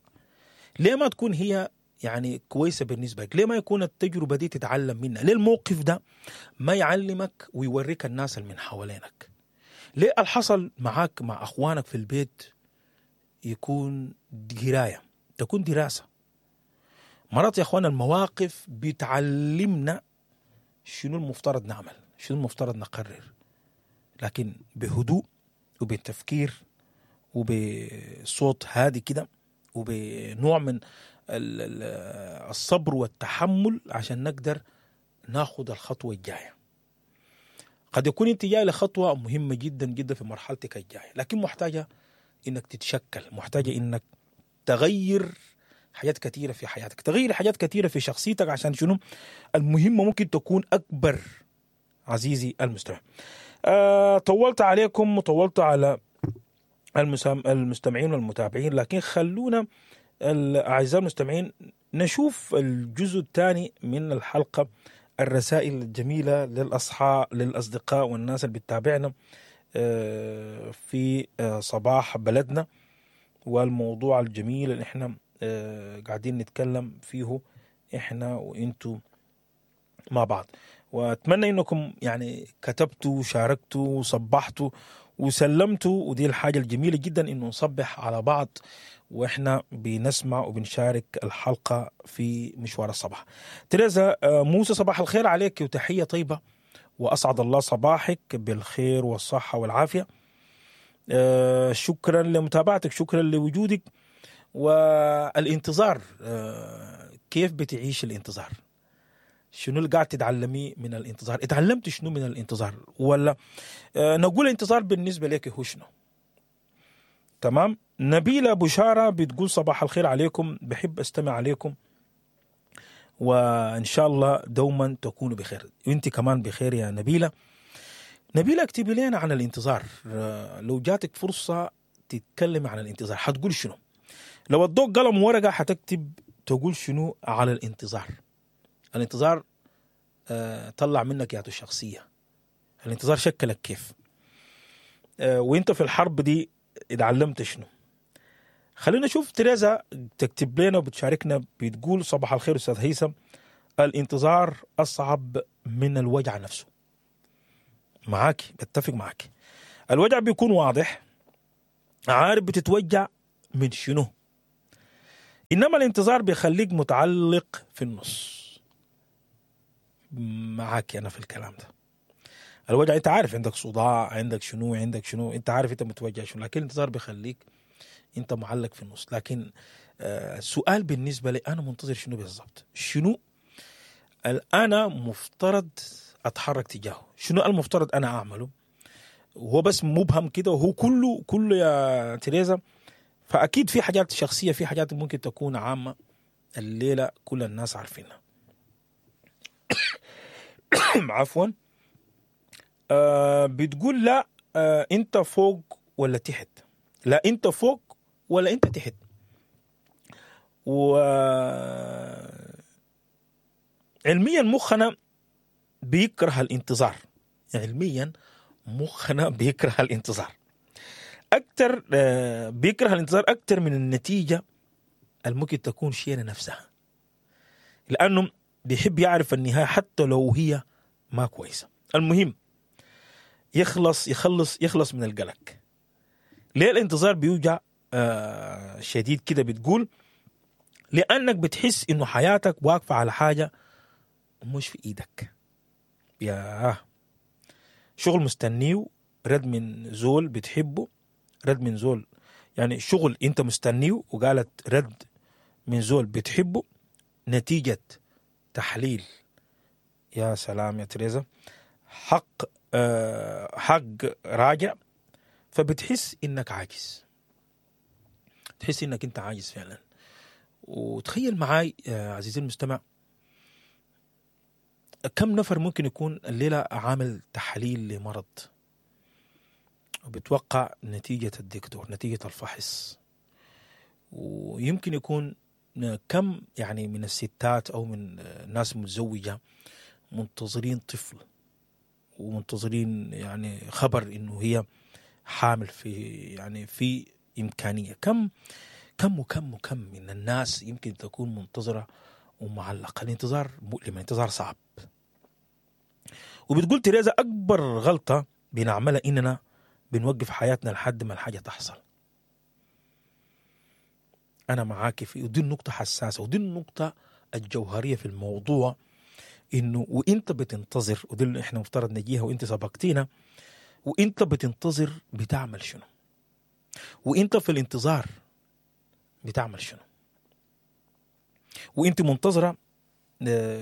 ليه ما تكون هي يعني كويسة بالنسبة لك؟ ليه ما يكون التجربة دي تتعلم منها؟ ليه الموقف ده ما يعلمك ويوريك الناس اللي من حوالينك؟ ليه الحصل معاك مع أخوانك في البيت يكون قراية، تكون دراسة؟ مرات يا أخوان المواقف بتعلمنا شنو المفترض نعمل، شنو المفترض نقرر، لكن بهدوء وبتفكير وبصوت هادي كده وبنوع من الصبر والتحمل عشان نقدر ناخد الخطوة الجاية. قد يكون انت جاي لخطوة مهمة جدا جدا في مرحلتك الجاية، لكن محتاجة انك تتشكل، محتاجة انك تغير حاجات كثيرة في حياتك، تغير حاجات كثيرة في شخصيتك، عشان شنو المهمة ممكن تكون أكبر. عزيزي المستمع، أه طولت عليكم وطولت على المستمعين والمتابعين، لكن خلونا الأعزاء المستمعين نشوف الجزء الثاني من الحلقة، الرسائل الجميلة للأصحاب للأصدقاء والناس اللي بتتابعنا في صباح بلدنا، والموضوع الجميل اللي احنا قاعدين نتكلم فيه احنا وانتو مع بعض. واتمنى انكم يعني كتبتوا وشاركتوا وصبحتوا وسلمتوا، ودي الحاجة الجميلة جدا انه نصبح على بعض واحنا بنسمع وبنشارك الحلقة في مشوار الصباح. تريزا موسى، صباح الخير عليك وتحية طيبة، وأسعد الله صباحك بالخير والصحة والعافية. شكرا لمتابعتك، شكرا لوجودك. والانتظار، كيف بتعيش الانتظار؟ شنو اللي قاعد تتعلمي من الانتظار؟ اتعلمت شنو من الانتظار؟ ولا نقول الانتظار بالنسبة لك هو شنو؟ تمام. نبيلة بشارة بتقول صباح الخير عليكم، بحب استمع عليكم وإن شاء الله دوما تكونوا بخير. وانت كمان بخير يا نبيلة. نبيلة اكتبي لنا عن الانتظار، لو جاتك فرصة تتكلم عن الانتظار حتقول شنو؟ لو ادوك قلم ورقة حتكتب تقول شنو على الانتظار؟ الانتظار طلع منك يا الشخصية، الانتظار شكلك كيف، وانت في الحرب دي اتعلمت شنو؟ خلينا نشوف تريزا تكتب لنا وبتشاركنا، بتقول صباح الخير استاذ هيثم، الانتظار اصعب من الوجع نفسه. معاك، بتفق معاك. الوجع بيكون واضح، عارف بتتوجع من شنو، انما الانتظار بيخليك متعلق في النص. معاك انا في الكلام ده. الوجع انت عارف عندك صداع، عندك شنو، عندك شنو، انت عارف انت متوجع شنو، لكن الانتظار بيخليك انت معلق في النص. لكن آه السؤال بالنسبة لي انا منتظر شنو بالضبط؟ شنو انا مفترض اتحرك تجاهه؟ شنو المفترض انا اعمله؟ وهو بس مبهم كده، وهو كله كله يا تريزا. فاكيد في حاجات شخصية، في حاجات ممكن تكون عامة الليلة كل الناس عارفينها. عفوا. آه بتقول لا، آه انت فوق ولا تحت؟ لا انت فوق ولا انت تحت. و علميا مخنا بيكره الانتظار، علميا مخنا بيكره الانتظار اكثر، آه بيكره الانتظار اكثر من النتيجة الممكن تكون شينه نفسها، لانه بيحب يعرف النهاية حتى لو هي ما كويسة. المهم يخلص يخلص يخلص من القلق. ليه الانتظار بيوجع آه شديد كده؟ بتقول لانك بتحس انه حياتك واقفة على حاجة مش في ايدك. يا شغل مستنيه، رد من زول بتحبه، رد من زول، يعني شغل انت مستنيه وقالت رد من زول بتحبه، نتيجة تحليل. يا سلام يا تريزا، حق آه حق راجع. فبتحس انك عاجز، تحس انك انت عاجز فعلا. وتخيل معاي يا عزيزي المستمع، كم نفر ممكن يكون الليلة عامل تحليل لمرض وبتوقع نتيجة الدكتور، نتيجة الفحص، ويمكن يكون كم يعني من الستات أو من ناس متزوجة منتظرين طفل ومنتظرين يعني خبر إنه هي حامل، في يعني في إمكانية. كم كم وكم وكم من الناس يمكن تكون منتظرة ومعلقة. الانتظار مؤلم، الانتظار صعب. وبتقول تريزا أكبر غلطة بنعملها إننا بنوقف حياتنا لحد ما الحاجة تحصل. أنا معاك في، ودي النقطة حساسة، ودي النقطة الجوهرية في الموضوع، إنه وإنت بتنتظر، ودي اللي إحنا مفترض نجيها وإنت سبقتينا، وإنت بتنتظر بتعمل شنو؟ وإنت في الانتظار بتعمل شنو؟ وإنت منتظرة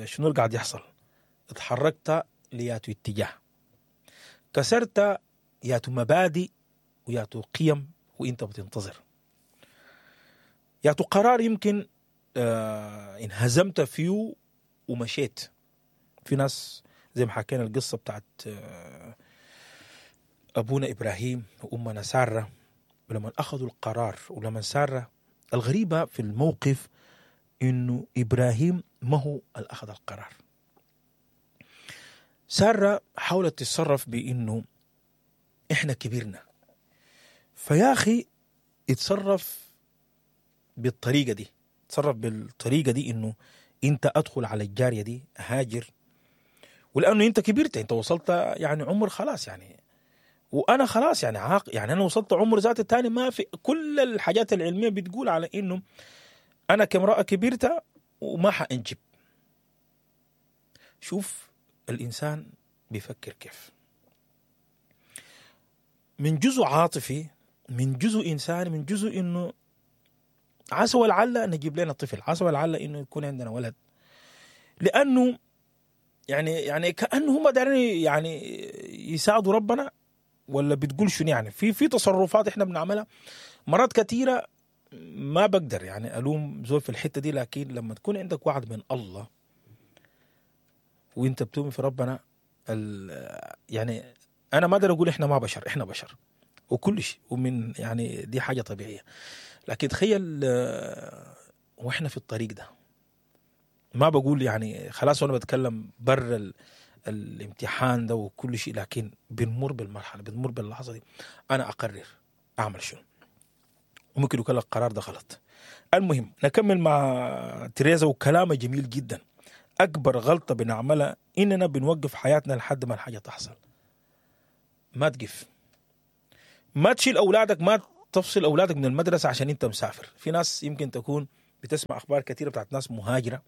شنو اللي قاعد يحصل؟ اتحركت لياتو اتجاه، كسرت ياتو مبادئ وياتو قيم وإنت بتنتظر، ياتو قرار يمكن آه انهزمت فيه ومشيت. في ناس زي ما حكينا القصة بتاعت آه أبونا إبراهيم وأمنا سارة، ولما أخذوا القرار ولما سارة، الغريبة في الموقف إنه إبراهيم ما هو اللي أخذ القرار. سارة حاولت تتصرف بإنه إحنا كبرنا، فيا أخي اتصرف بالطريقة دي، اتصرف بالطريقة دي إنه أنت أدخل على الجارية دي هاجر، ولأنه أنت كبرت، أنت وصلت يعني عمر خلاص يعني، وأنا خلاص يعني عاق، يعني أنا وصلت عمر ذات التاني، ما في كل الحاجات العلمية بتقول على إنه أنا كامرأة كبرت وما حأنجب. شوف الإنسان بيفكر كيف، من جزء عاطفي، من جزء إنساني، من جزء إنه عسى ولعل نجيب لنا طفل، عسى ولعل إنه يكون عندنا ولد، لأنه يعني يعني كأنه هم دارين يعني يساعدوا ربنا، ولا بتقول شنو يعني؟ في في تصرفات إحنا بنعملها مرات كثيرة ما بقدر يعني ألوم زول في الحتة دي، لكن لما تكون عندك وعد من الله وانت بتؤمن في ربنا، يعني أنا ما أقدر أقول إحنا ما بشر، إحنا بشر وكل شيء، ومن يعني دي حاجة طبيعية. لكن تخيل وإحنا في الطريق ده، ما بقول يعني خلاص وأنا بتكلم بر ال الامتحان ده وكل شيء، لكن بنمر بالمرحلة، بنمر باللحظة دي. أنا أقرر أعمل شنو. وممكن يكون القرار ده غلط. المهم نكمل مع تريزا وكلامها جميل جدا. اكبر غلطه بنعملها اننا بنوقف حياتنا لحد ما الحاجة تحصل. ما تقف، ما تشيل اولادك، ما تفصل اولادك من المدرسة عشان انت مسافر. في ناس يمكن تكون بتسمع اخبار كثيرة بتاعت ناس مهاجرة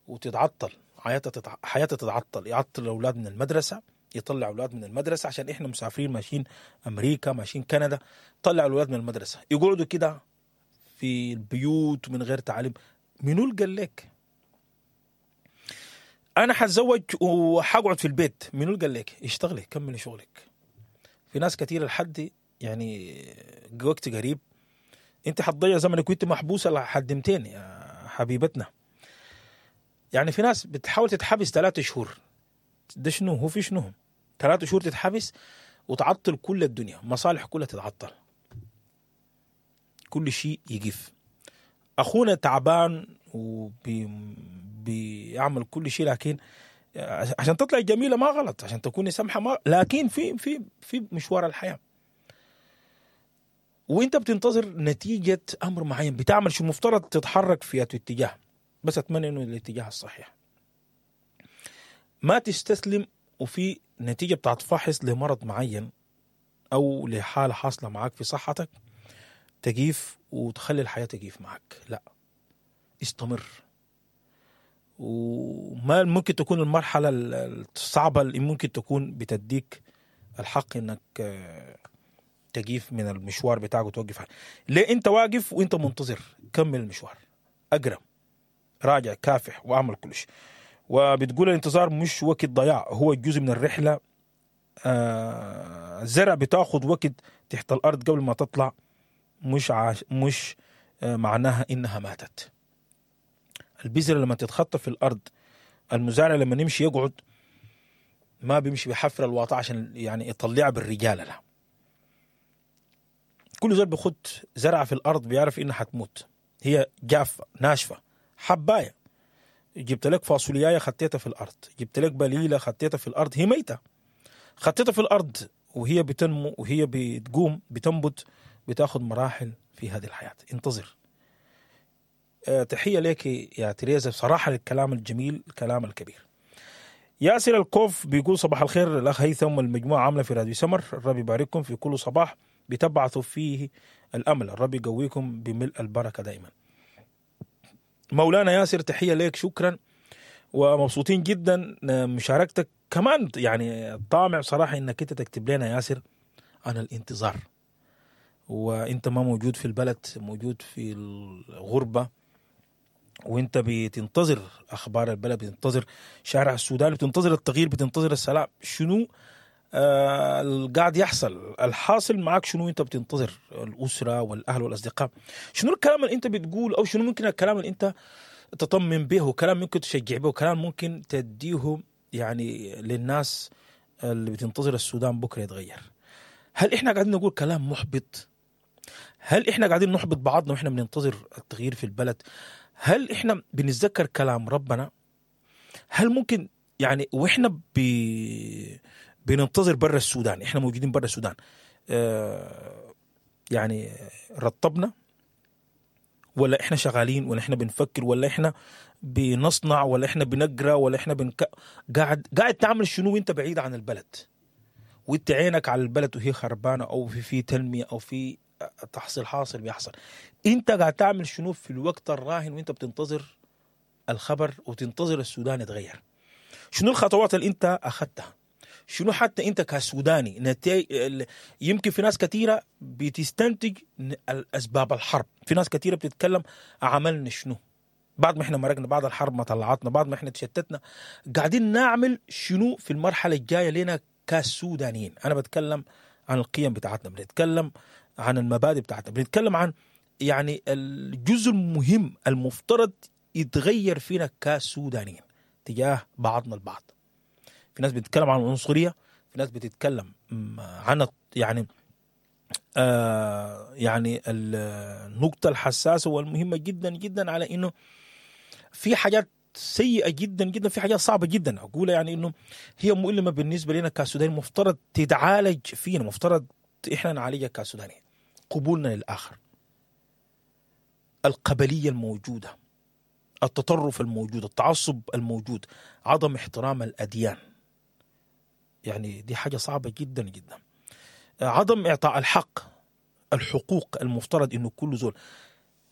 وتتعطل حياتها، تتع... حياتها تتعطل، يعطل الاولاد من المدرسة، يطلع اولاد من المدرسة عشان احنا مسافرين ماشيين امريكا ماشيين كندا، طلع الاولاد من المدرسة يقعدوا كده في البيوت من غير تعليم. منو اللي قال لك انا حتزوج وحقعد في البيت؟ منو اللي قال لك؟ اشتغلي، كملي شغلك. في ناس كثيرة لحد يعني وقت قريب انت حتضيع زمنك وانت محبوسة لحد متين يا حبيبتنا. يعني في ناس بتحاول تتحبس ثلاثة شهور، ده شنو هو؟ في شنو ثلاثة شهور تتحبس وتعطل كل الدنيا، مصالح كلها تتعطل، كل شيء يقف. اخونا تعبان وبيعمل كل شيء، لكن عشان تطلع جميلة ما غلط، عشان تكوني سمحه ما، لكن في في في مشوار الحياة وانت بتنتظر نتيجة امر معين، بتعمل شو مفترض تتحرك في اتجاه، بس اتمنى انه الاتجاه الصحيح. ما تستسلم وفي نتيجة بتاعت فحص لمرض معين او لحاله حاصله معاك في صحتك تجيف وتخلي الحياة تجيف معك، لا، استمر. وما ممكن تكون المرحلة الصعبة اللي ممكن تكون بتديك الحق انك تجيف من المشوار بتاعك وتوقف. ليه انت واقف وانت منتظر؟ كمل المشوار، اقرا، راجع، كافح، واعمل كل شيء. وبتقول الانتظار مش وقت ضياع، هو جزء من الرحلة. آه الزرع بتاخد وقت تحت الارض قبل ما تطلع، مش عاش مش آه معناها انها ماتت. البذرة لما تتخطى في الارض، المزارع لما نمشي يقعد ما بيمشي بحفر الواطة عشان يعني يطلعها بالرجاله، لا. كل زول بيخد زرعه في الارض بيعرف انها حتموت، هي جافة ناشفة حبايه. جبت لك فاصوليايه خطيتها في الارض، جبت لك بليلة خطيتها في الارض، هي ميته، خطيتها في الارض وهي بتنمو وهي بتقوم بتنبت، بتاخد مراحل في هذه الحياة. انتظر. أه تحية لك يا تريزا بصراحة للكلام الجميل، الكلام الكبير. ياسر الكوف بيقول صباح الخير الاخ هيثم والمجموعة عامله في راديو سمر، الرب يبارككم في كل صباح بتبعثوا فيه الامل، الرب يقويكم بملء البركة دائما. مولانا ياسر تحية لك، شكرا ومبسوطين جدا مشاركتك كمان. يعني طامع صراحة انك انت تكتب لنا ياسر عن الانتظار، وانت ما موجود في البلد، موجود في الغربة، وانت بتنتظر اخبار البلد، بتنتظر شارع السودان، بتنتظر التغيير، بتنتظر السلام. شنو آه القاعد يحصل؟ الحاصل معك شنو؟ انت بتنتظر الاسرة والاهل والاصدقاء. شنو الكلام اللي انت بتقول، او شنو ممكن الكلام اللي انت تطمن به، كلام ممكن تشجع به، كلام ممكن تديه يعني للناس اللي بتنتظر السودان بكره يتغير؟ هل احنا قاعدين نقول كلام محبط؟ هل احنا قاعدين نحبط بعضنا واحنا بننتظر التغيير في البلد؟ هل احنا بنتذكر كلام ربنا؟ هل ممكن يعني واحنا بي بننتظر برا السودان، احنا موجودين برا السودان، اه يعني رطبنا ولا احنا شغالين، ولا احنا بنفكر، ولا احنا بنصنع، ولا احنا بنقرا، ولا احنا بنك... قاعد قاعد تعمل شنو وانت بعيد عن البلد، وانت عينك على البلد وهي خربانة، او في في تنمية، او في تحصيل حاصل بيحصل؟ انت قاعد تعمل شنو في الوقت الراهن وانت بتنتظر الخبر وتنتظر السودان يتغير؟ شنو الخطوات اللي انت اخذتها؟ شنو حتى انت كسوداني نتي... يمكن في ناس كثيرة بتستنتج اسباب الحرب، في ناس كثيرة بتتكلم عملنا شنو بعد ما احنا مرقنا، بعد الحرب ما طلعتنا، بعد ما احنا تشتتنا، قاعدين نعمل شنو في المرحلة الجاية لنا كسودانيين؟ انا بتكلم عن القيم بتاعتنا، بنتكلم عن المبادئ بتاعتنا، بنتكلم عن يعني الجزء المهم المفترض يتغير فينا كسودانيين تجاه بعضنا البعض. في ناس بتتكلم عن العنصرية، في ناس بتتكلم عن يعني آه يعني النقطة الحساسة والمهمة جدا جدا على إنه في حاجات سيئة جدا جدا، في حاجات صعبة جدا أقول يعني إنه هي مؤلمة بالنسبة لنا كسودانيين، مفترض تتعالج فينا، مفترض إحنا نعالجها كسودانيين. قبولنا للآخر، القبلية الموجودة، التطرف الموجود، التعصب الموجود، عدم احترام الأديان. يعني دي حاجة صعبة جدا جدا. عدم إعطاء الحق، الحقوق المفترض إنه كل زول،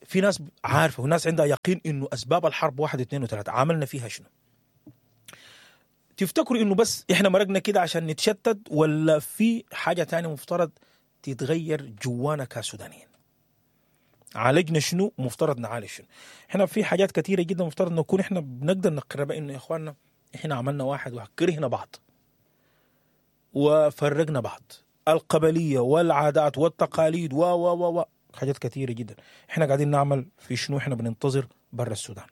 في ناس عارفة وناس عندها يقين إنه أسباب الحرب واحد اثنين وثلاثة، عملنا فيها شنو؟ تفتكروا إنه بس إحنا مرقنا كده عشان نتشتت، ولا في حاجة تانية مفترض تتغير جوانا كسودانيين؟ عالجنا شنو؟ مفترض نعالج شنو؟ احنا في حاجات كثيرة جدا مفترض نكون احنا بنقدر نقربها، انه يا اخواننا احنا عملنا واحد وكرهنا بعض وفرقنا بعض، القبلية والعادات والتقاليد و و و و حاجات كثيرة جدا. احنا قاعدين نعمل في شنو؟ احنا بننتظر برا السودان.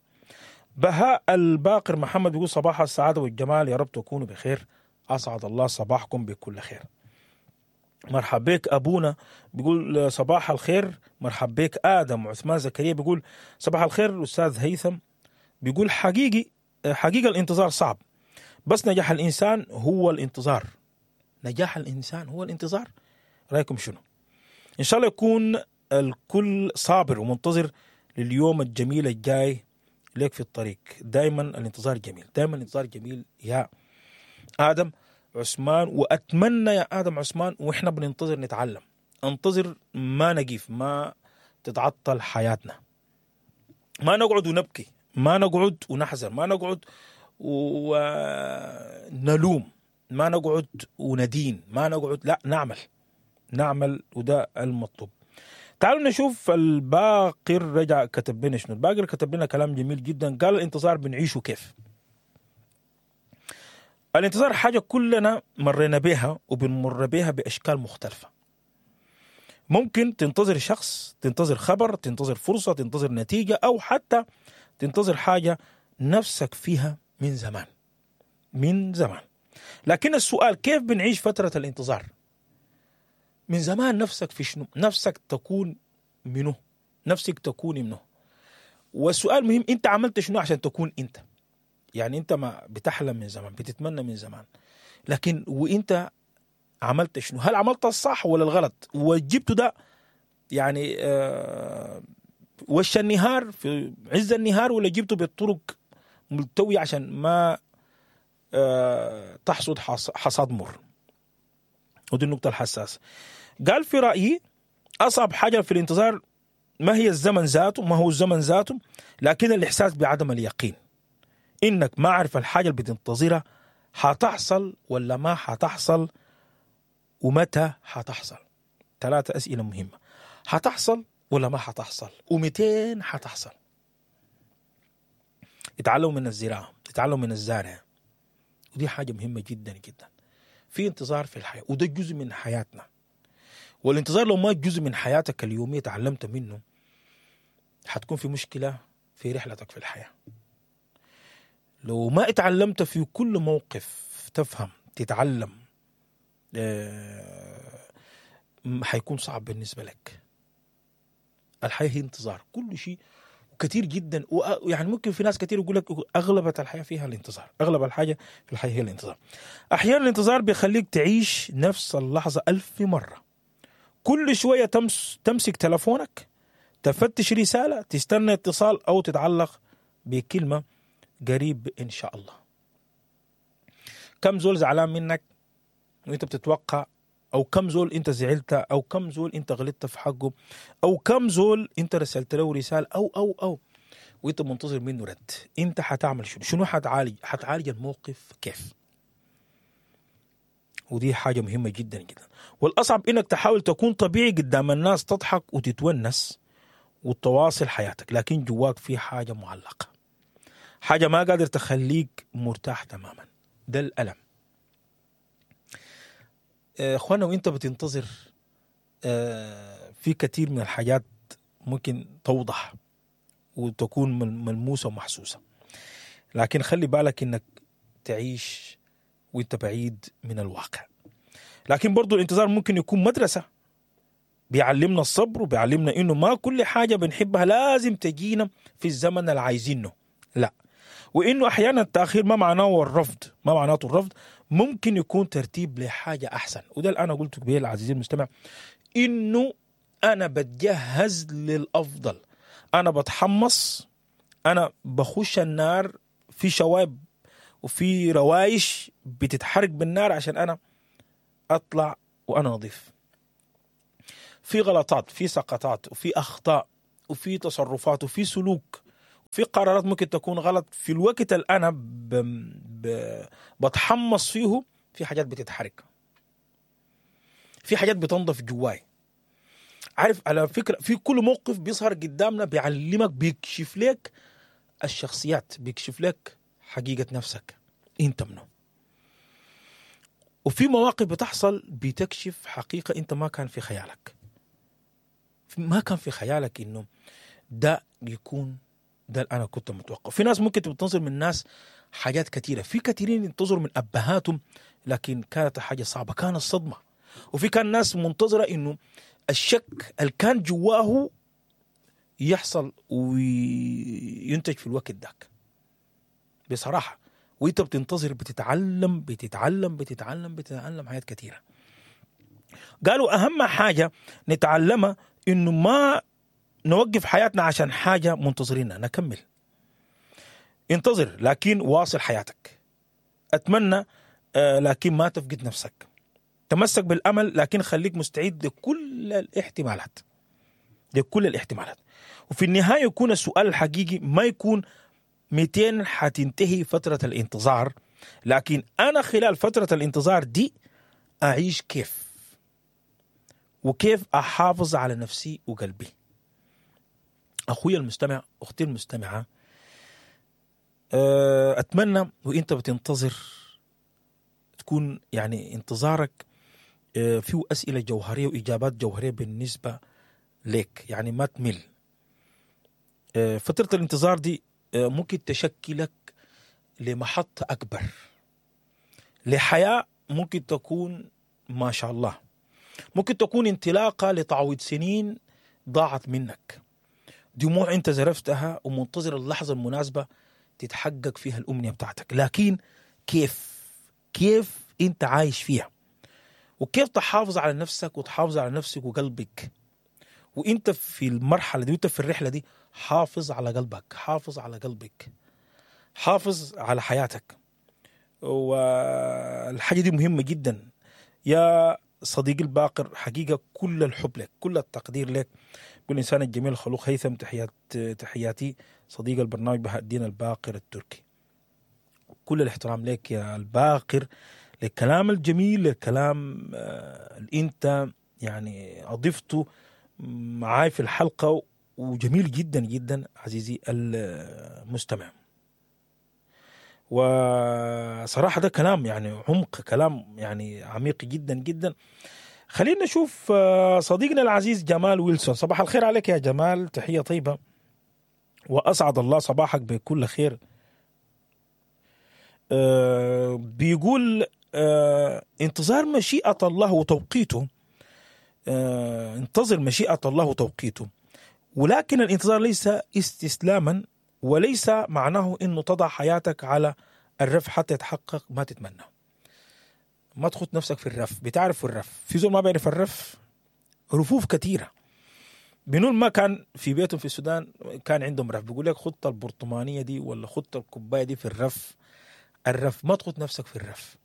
بهاء الباقر محمد بيقول صباح السعادة والجمال، يا رب تكونوا بخير، أسعد الله صباحكم بكل خير. مرحب بك أبونا بيقول صباح الخير. مرحب بك آدم عثمان زكريا بيقول صباح الخير. الأستاذ هيثم بيقول حقيقي حقيقة الانتظار صعب، بس نجاح الإنسان هو الانتظار. نجاح الإنسان هو الانتظار. رأيكم شنو؟ إن شاء الله يكون الكل صابر ومنتظر لليوم الجميل الجاي لك في الطريق. دايما الانتظار جميل، دايما الانتظار جميل يا آدم عثمان. وأتمنى يا آدم عثمان وإحنا بننتظر نتعلم، انتظر ما نقيف، ما تتعطل حياتنا، ما نقعد ونبكي، ما نقعد ونحزن، ما نقعد ونلوم، ما نقعد وندين، ما نقعد، لا نعمل نعمل، وده المطلوب. تعالوا نشوف الباقر رجع كتب لنا شنو. الباقر كتب لنا كلام جميل جدا، قال الانتظار بنعيشه كيف. الانتظار حاجة كلنا مرينا بها وبنمر بها بأشكال مختلفة. ممكن تنتظر شخص، تنتظر خبر، تنتظر فرصة، تنتظر نتيجة، أو حتى تنتظر حاجة نفسك فيها من زمان من زمان. لكن السؤال كيف بنعيش فترة الانتظار؟ من زمان نفسك في شنو؟ نفسك تكون منه، نفسك تكون منه. والسؤال مهم، انت عملت شنو عشان تكون انت؟ يعني انت ما بتحلم من زمان، بتتمنى من زمان، لكن وانت عملت شنو؟ هل عملت الصح ولا الغلط؟ وجبته ده يعني آه وش النهار في عز النهار، ولا جبته بالطرق ملتوية عشان ما آه تحصد حصاد مر؟ ودي النقطة الحساسة. قال في رأيي أصعب حاجة في الانتظار ما هي الزمن ذاته، ما هو الزمن ذاته، لكن الإحساس بعدم اليقين، إنك ما عارف الحاجة اللي بتنتظرها حتحصل ولا ما حتحصل، ومتى حتحصل. ثلاثة أسئلة مهمة، حتحصل ولا ما حتحصل، ومتين حتحصل. اتعلموا من الزراعة، اتعلموا من الزارع، ودي حاجة مهمة جدا جدا. في انتظار في الحياة، وده جزء من حياتنا. والانتظار لو ما جزء من حياتك اليومية تعلمت منه، حتكون في مشكلة في رحلتك في الحياة. لو ما اتعلمت في كل موقف تفهم تتعلم، حيكون صعب بالنسبة لك. الحياة هي انتظار، كل شيء وكثير جدا. ويعني ممكن في ناس كثير يقول لك أغلب الحياة فيها الانتظار، أغلب الحاجة في الحياة هي الانتظار. أحيانا الانتظار بيخليك تعيش نفس اللحظة ألف مرة، كل شوية تمس تمسك تلفونك، تفتش رسالة، تستنى اتصال، أو تتعلق بكلمة قريب إن شاء الله. كم زول زعلان منك وانت بتتوقع، أو كم زول انت زعلت، أو كم زول انت غلطت في حقه، أو كم زول انت رسلت له رسالة، أو أو أو وانت منتظر منه رد. انت حتعمل شنو؟ شنو حتعالج؟ حتعالج الموقف كيف؟ ودي حاجة مهمة جدا جدا. والأصعب انك تحاول تكون طبيعي قدام الناس، تضحك وتتونس وتواصل حياتك، لكن جواك في حاجة معلقة، حاجة ما قادر تخليك مرتاح تماما. ده الألم اخوانا. وانت بتنتظر في كثير من الحاجات ممكن توضح وتكون ملموسة ومحسوسة، لكن خلي بالك انك تعيش وانت بعيد من الواقع. لكن برضو الانتظار ممكن يكون مدرسة، بيعلمنا الصبر، وبيعلمنا انه ما كل حاجة بنحبها لازم تجينا في الزمن اللي عايزينه، لا، وانه احيانا التأخير ما معناه الرفض، ما معناته الرفض، ممكن يكون ترتيب لحاجة احسن. وده اللي انا قلته قبل عزيزي المستمع، انه انا بتجهز للافضل. انا بتحمص، انا بخش النار، في شوايب وفي روايش بتتحرق بالنار عشان انا اطلع وانا نظيف. في غلطات، في سقطات، وفي اخطاء، وفي تصرفات، وفي سلوك، في قرارات ممكن تكون غلط في الوقت اللي انا ب... ب... بتحمص فيه. في حاجات بتتحرق، في حاجات بتنضف جواي. عارف على فكرة في كل موقف بيظهر قدامنا بيعلمك، بيكشف لك الشخصيات، بيكشف لك حقيقة نفسك انت منه. وفي مواقف بتحصل بتكشف حقيقة انت ما كان في خيالك، ما كان في خيالك انه ده يكون ده اللي انا كنت متوقع. في ناس ممكن تنتظر من ناس حاجات كثيرة، في كثيرين ينتظروا من ابهاتهم لكن كانت حاجة صعبة، كانت صدمة. وفي كان ناس منتظرة انه الشك اللي كان جواه يحصل وينتج في الوقت ذاك بصراحة. وانت بتنتظر بتتعلم بتتعلم بتتعلم بتتعلم حاجات كثيرة. قالوا اهم حاجة نتعلمها انه ما نوقف حياتنا عشان حاجة منتظرينها، نكمل. انتظر لكن واصل حياتك. اتمنى آه لكن ما تفقد نفسك. تمسك بالامل لكن خليك مستعد لكل الاحتمالات، لكل الاحتمالات. وفي النهاية يكون السؤال الحقيقي ما يكون مئتين حتنتهي فترة الانتظار، لكن أنا خلال فترة الانتظار دي أعيش كيف، وكيف أحافظ على نفسي وقلبي. أخوي المستمع، أختي المستمعة، أتمنى وإنت بتنتظر تكون يعني انتظارك فيه أسئلة جوهرية وإجابات جوهرية بالنسبة لك، يعني ما تمل. فترة الانتظار دي ممكن تشكلك لمحطة أكبر، لحياة ممكن تكون ما شاء الله، ممكن تكون انطلاقة لتعويض سنين ضاعت منك، دموع انت زرفتها ومنتظر اللحظة المناسبة تتحقق فيها الأمنية بتاعتك. لكن كيف كيف انت عايش فيها، وكيف تحافظ على نفسك وتحافظ على نفسك وقلبك وانت في المرحلة دي وانت في الرحلة دي. حافظ على قلبك، حافظ على قلبك، حافظ على حياتك. والحاجة دي مهمة جدا يا صديقي الباقر. حقيقة كل الحب لك، كل التقدير لك. كل إنسان الجميل الخلوق هيثم، تحيات تحياتي صديق البرنامج بهاء الدين الباقر التركي. كل الاحترام لك يا الباقر، للكلام الجميل، للكلام اللي انت يعني أضفته معاي في الحلقة، وجميل جدا جدا عزيزي المستمع. وصراحة ده كلام يعني عمق، كلام يعني عميق جدا جدا. خلينا نشوف صديقنا العزيز جمال ويلسون. صباح الخير عليك يا جمال، تحية طيبة وأسعد الله صباحك بكل خير. بيقول انتظار مشيئة الله وتوقيته، انتظر مشيئة الله وتوقيته، ولكن الانتظار ليس استسلاما، وليس معناه انه تضع حياتك على الرف حتى يتحقق ما تتمنى. ما تخط نفسك في الرف. بتعرف الرف؟ في زول ما بيعرف الرف؟ رفوف كثيرة. بنقول ما كان في بيتهم في السودان كان عندهم رف، بيقول لك خط البرطمانية دي ولا خط الكوباية دي في الرف. الرف، ما تخط نفسك في الرف.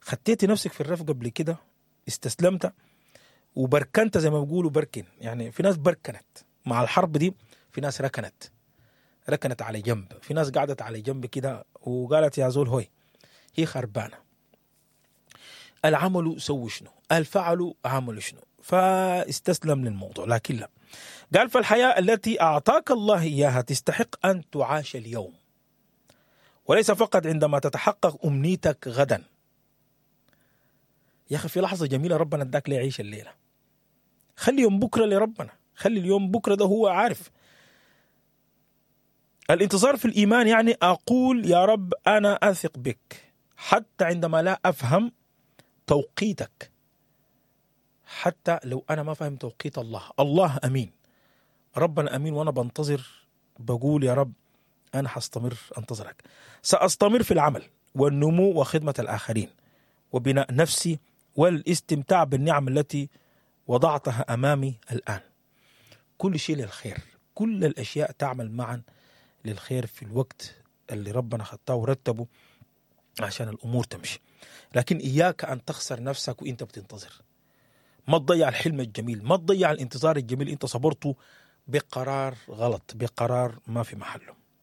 خطيتي نفسك في الرف قبل كده، استسلمت وبركنت زي ما بيقولوا بركن. يعني في ناس بركنت مع الحرب دي، في ناس ركنت ركنت على جنب، في ناس قعدت على جنب كده وقالت يا زول هوي هي خربانة. العمل سووا شنو، الفعل عملوا شنو، فاستسلم للموضوع. لكن لا، قال فالحياة التي أعطاك الله إياها تستحق أن تعاش اليوم، وليس فقط عندما تتحقق أمنيتك غدا. يا أخي في لحظة جميلة ربنا اداك ليعيش الليلة، خلي يوم بكرة لربنا، خلي اليوم بكرة ده هو عارف. الانتظار في الإيمان يعني أقول يا رب أنا أثق بك حتى عندما لا أفهم توقيتك، حتى لو أنا ما فهم توقيت الله. الله أمين، ربنا أمين، وأنا بنتظر بقول يا رب أنا حستمر أنتظرك، سأستمر في العمل والنمو وخدمة الآخرين وبناء نفسي والاستمتاع بالنعم التي وضعتها أمامي الآن. كل شيء للخير. كل الأشياء تعمل معا للخير في الوقت اللي ربنا ختاه ورتبه عشان الأمور تمشي. لكن إياك أن تخسر نفسك وإنت بتنتظر. ما تضيع الحلم الجميل، ما تضيع الانتظار الجميل انت صبرته بقرار غلط، بقرار ما في محله.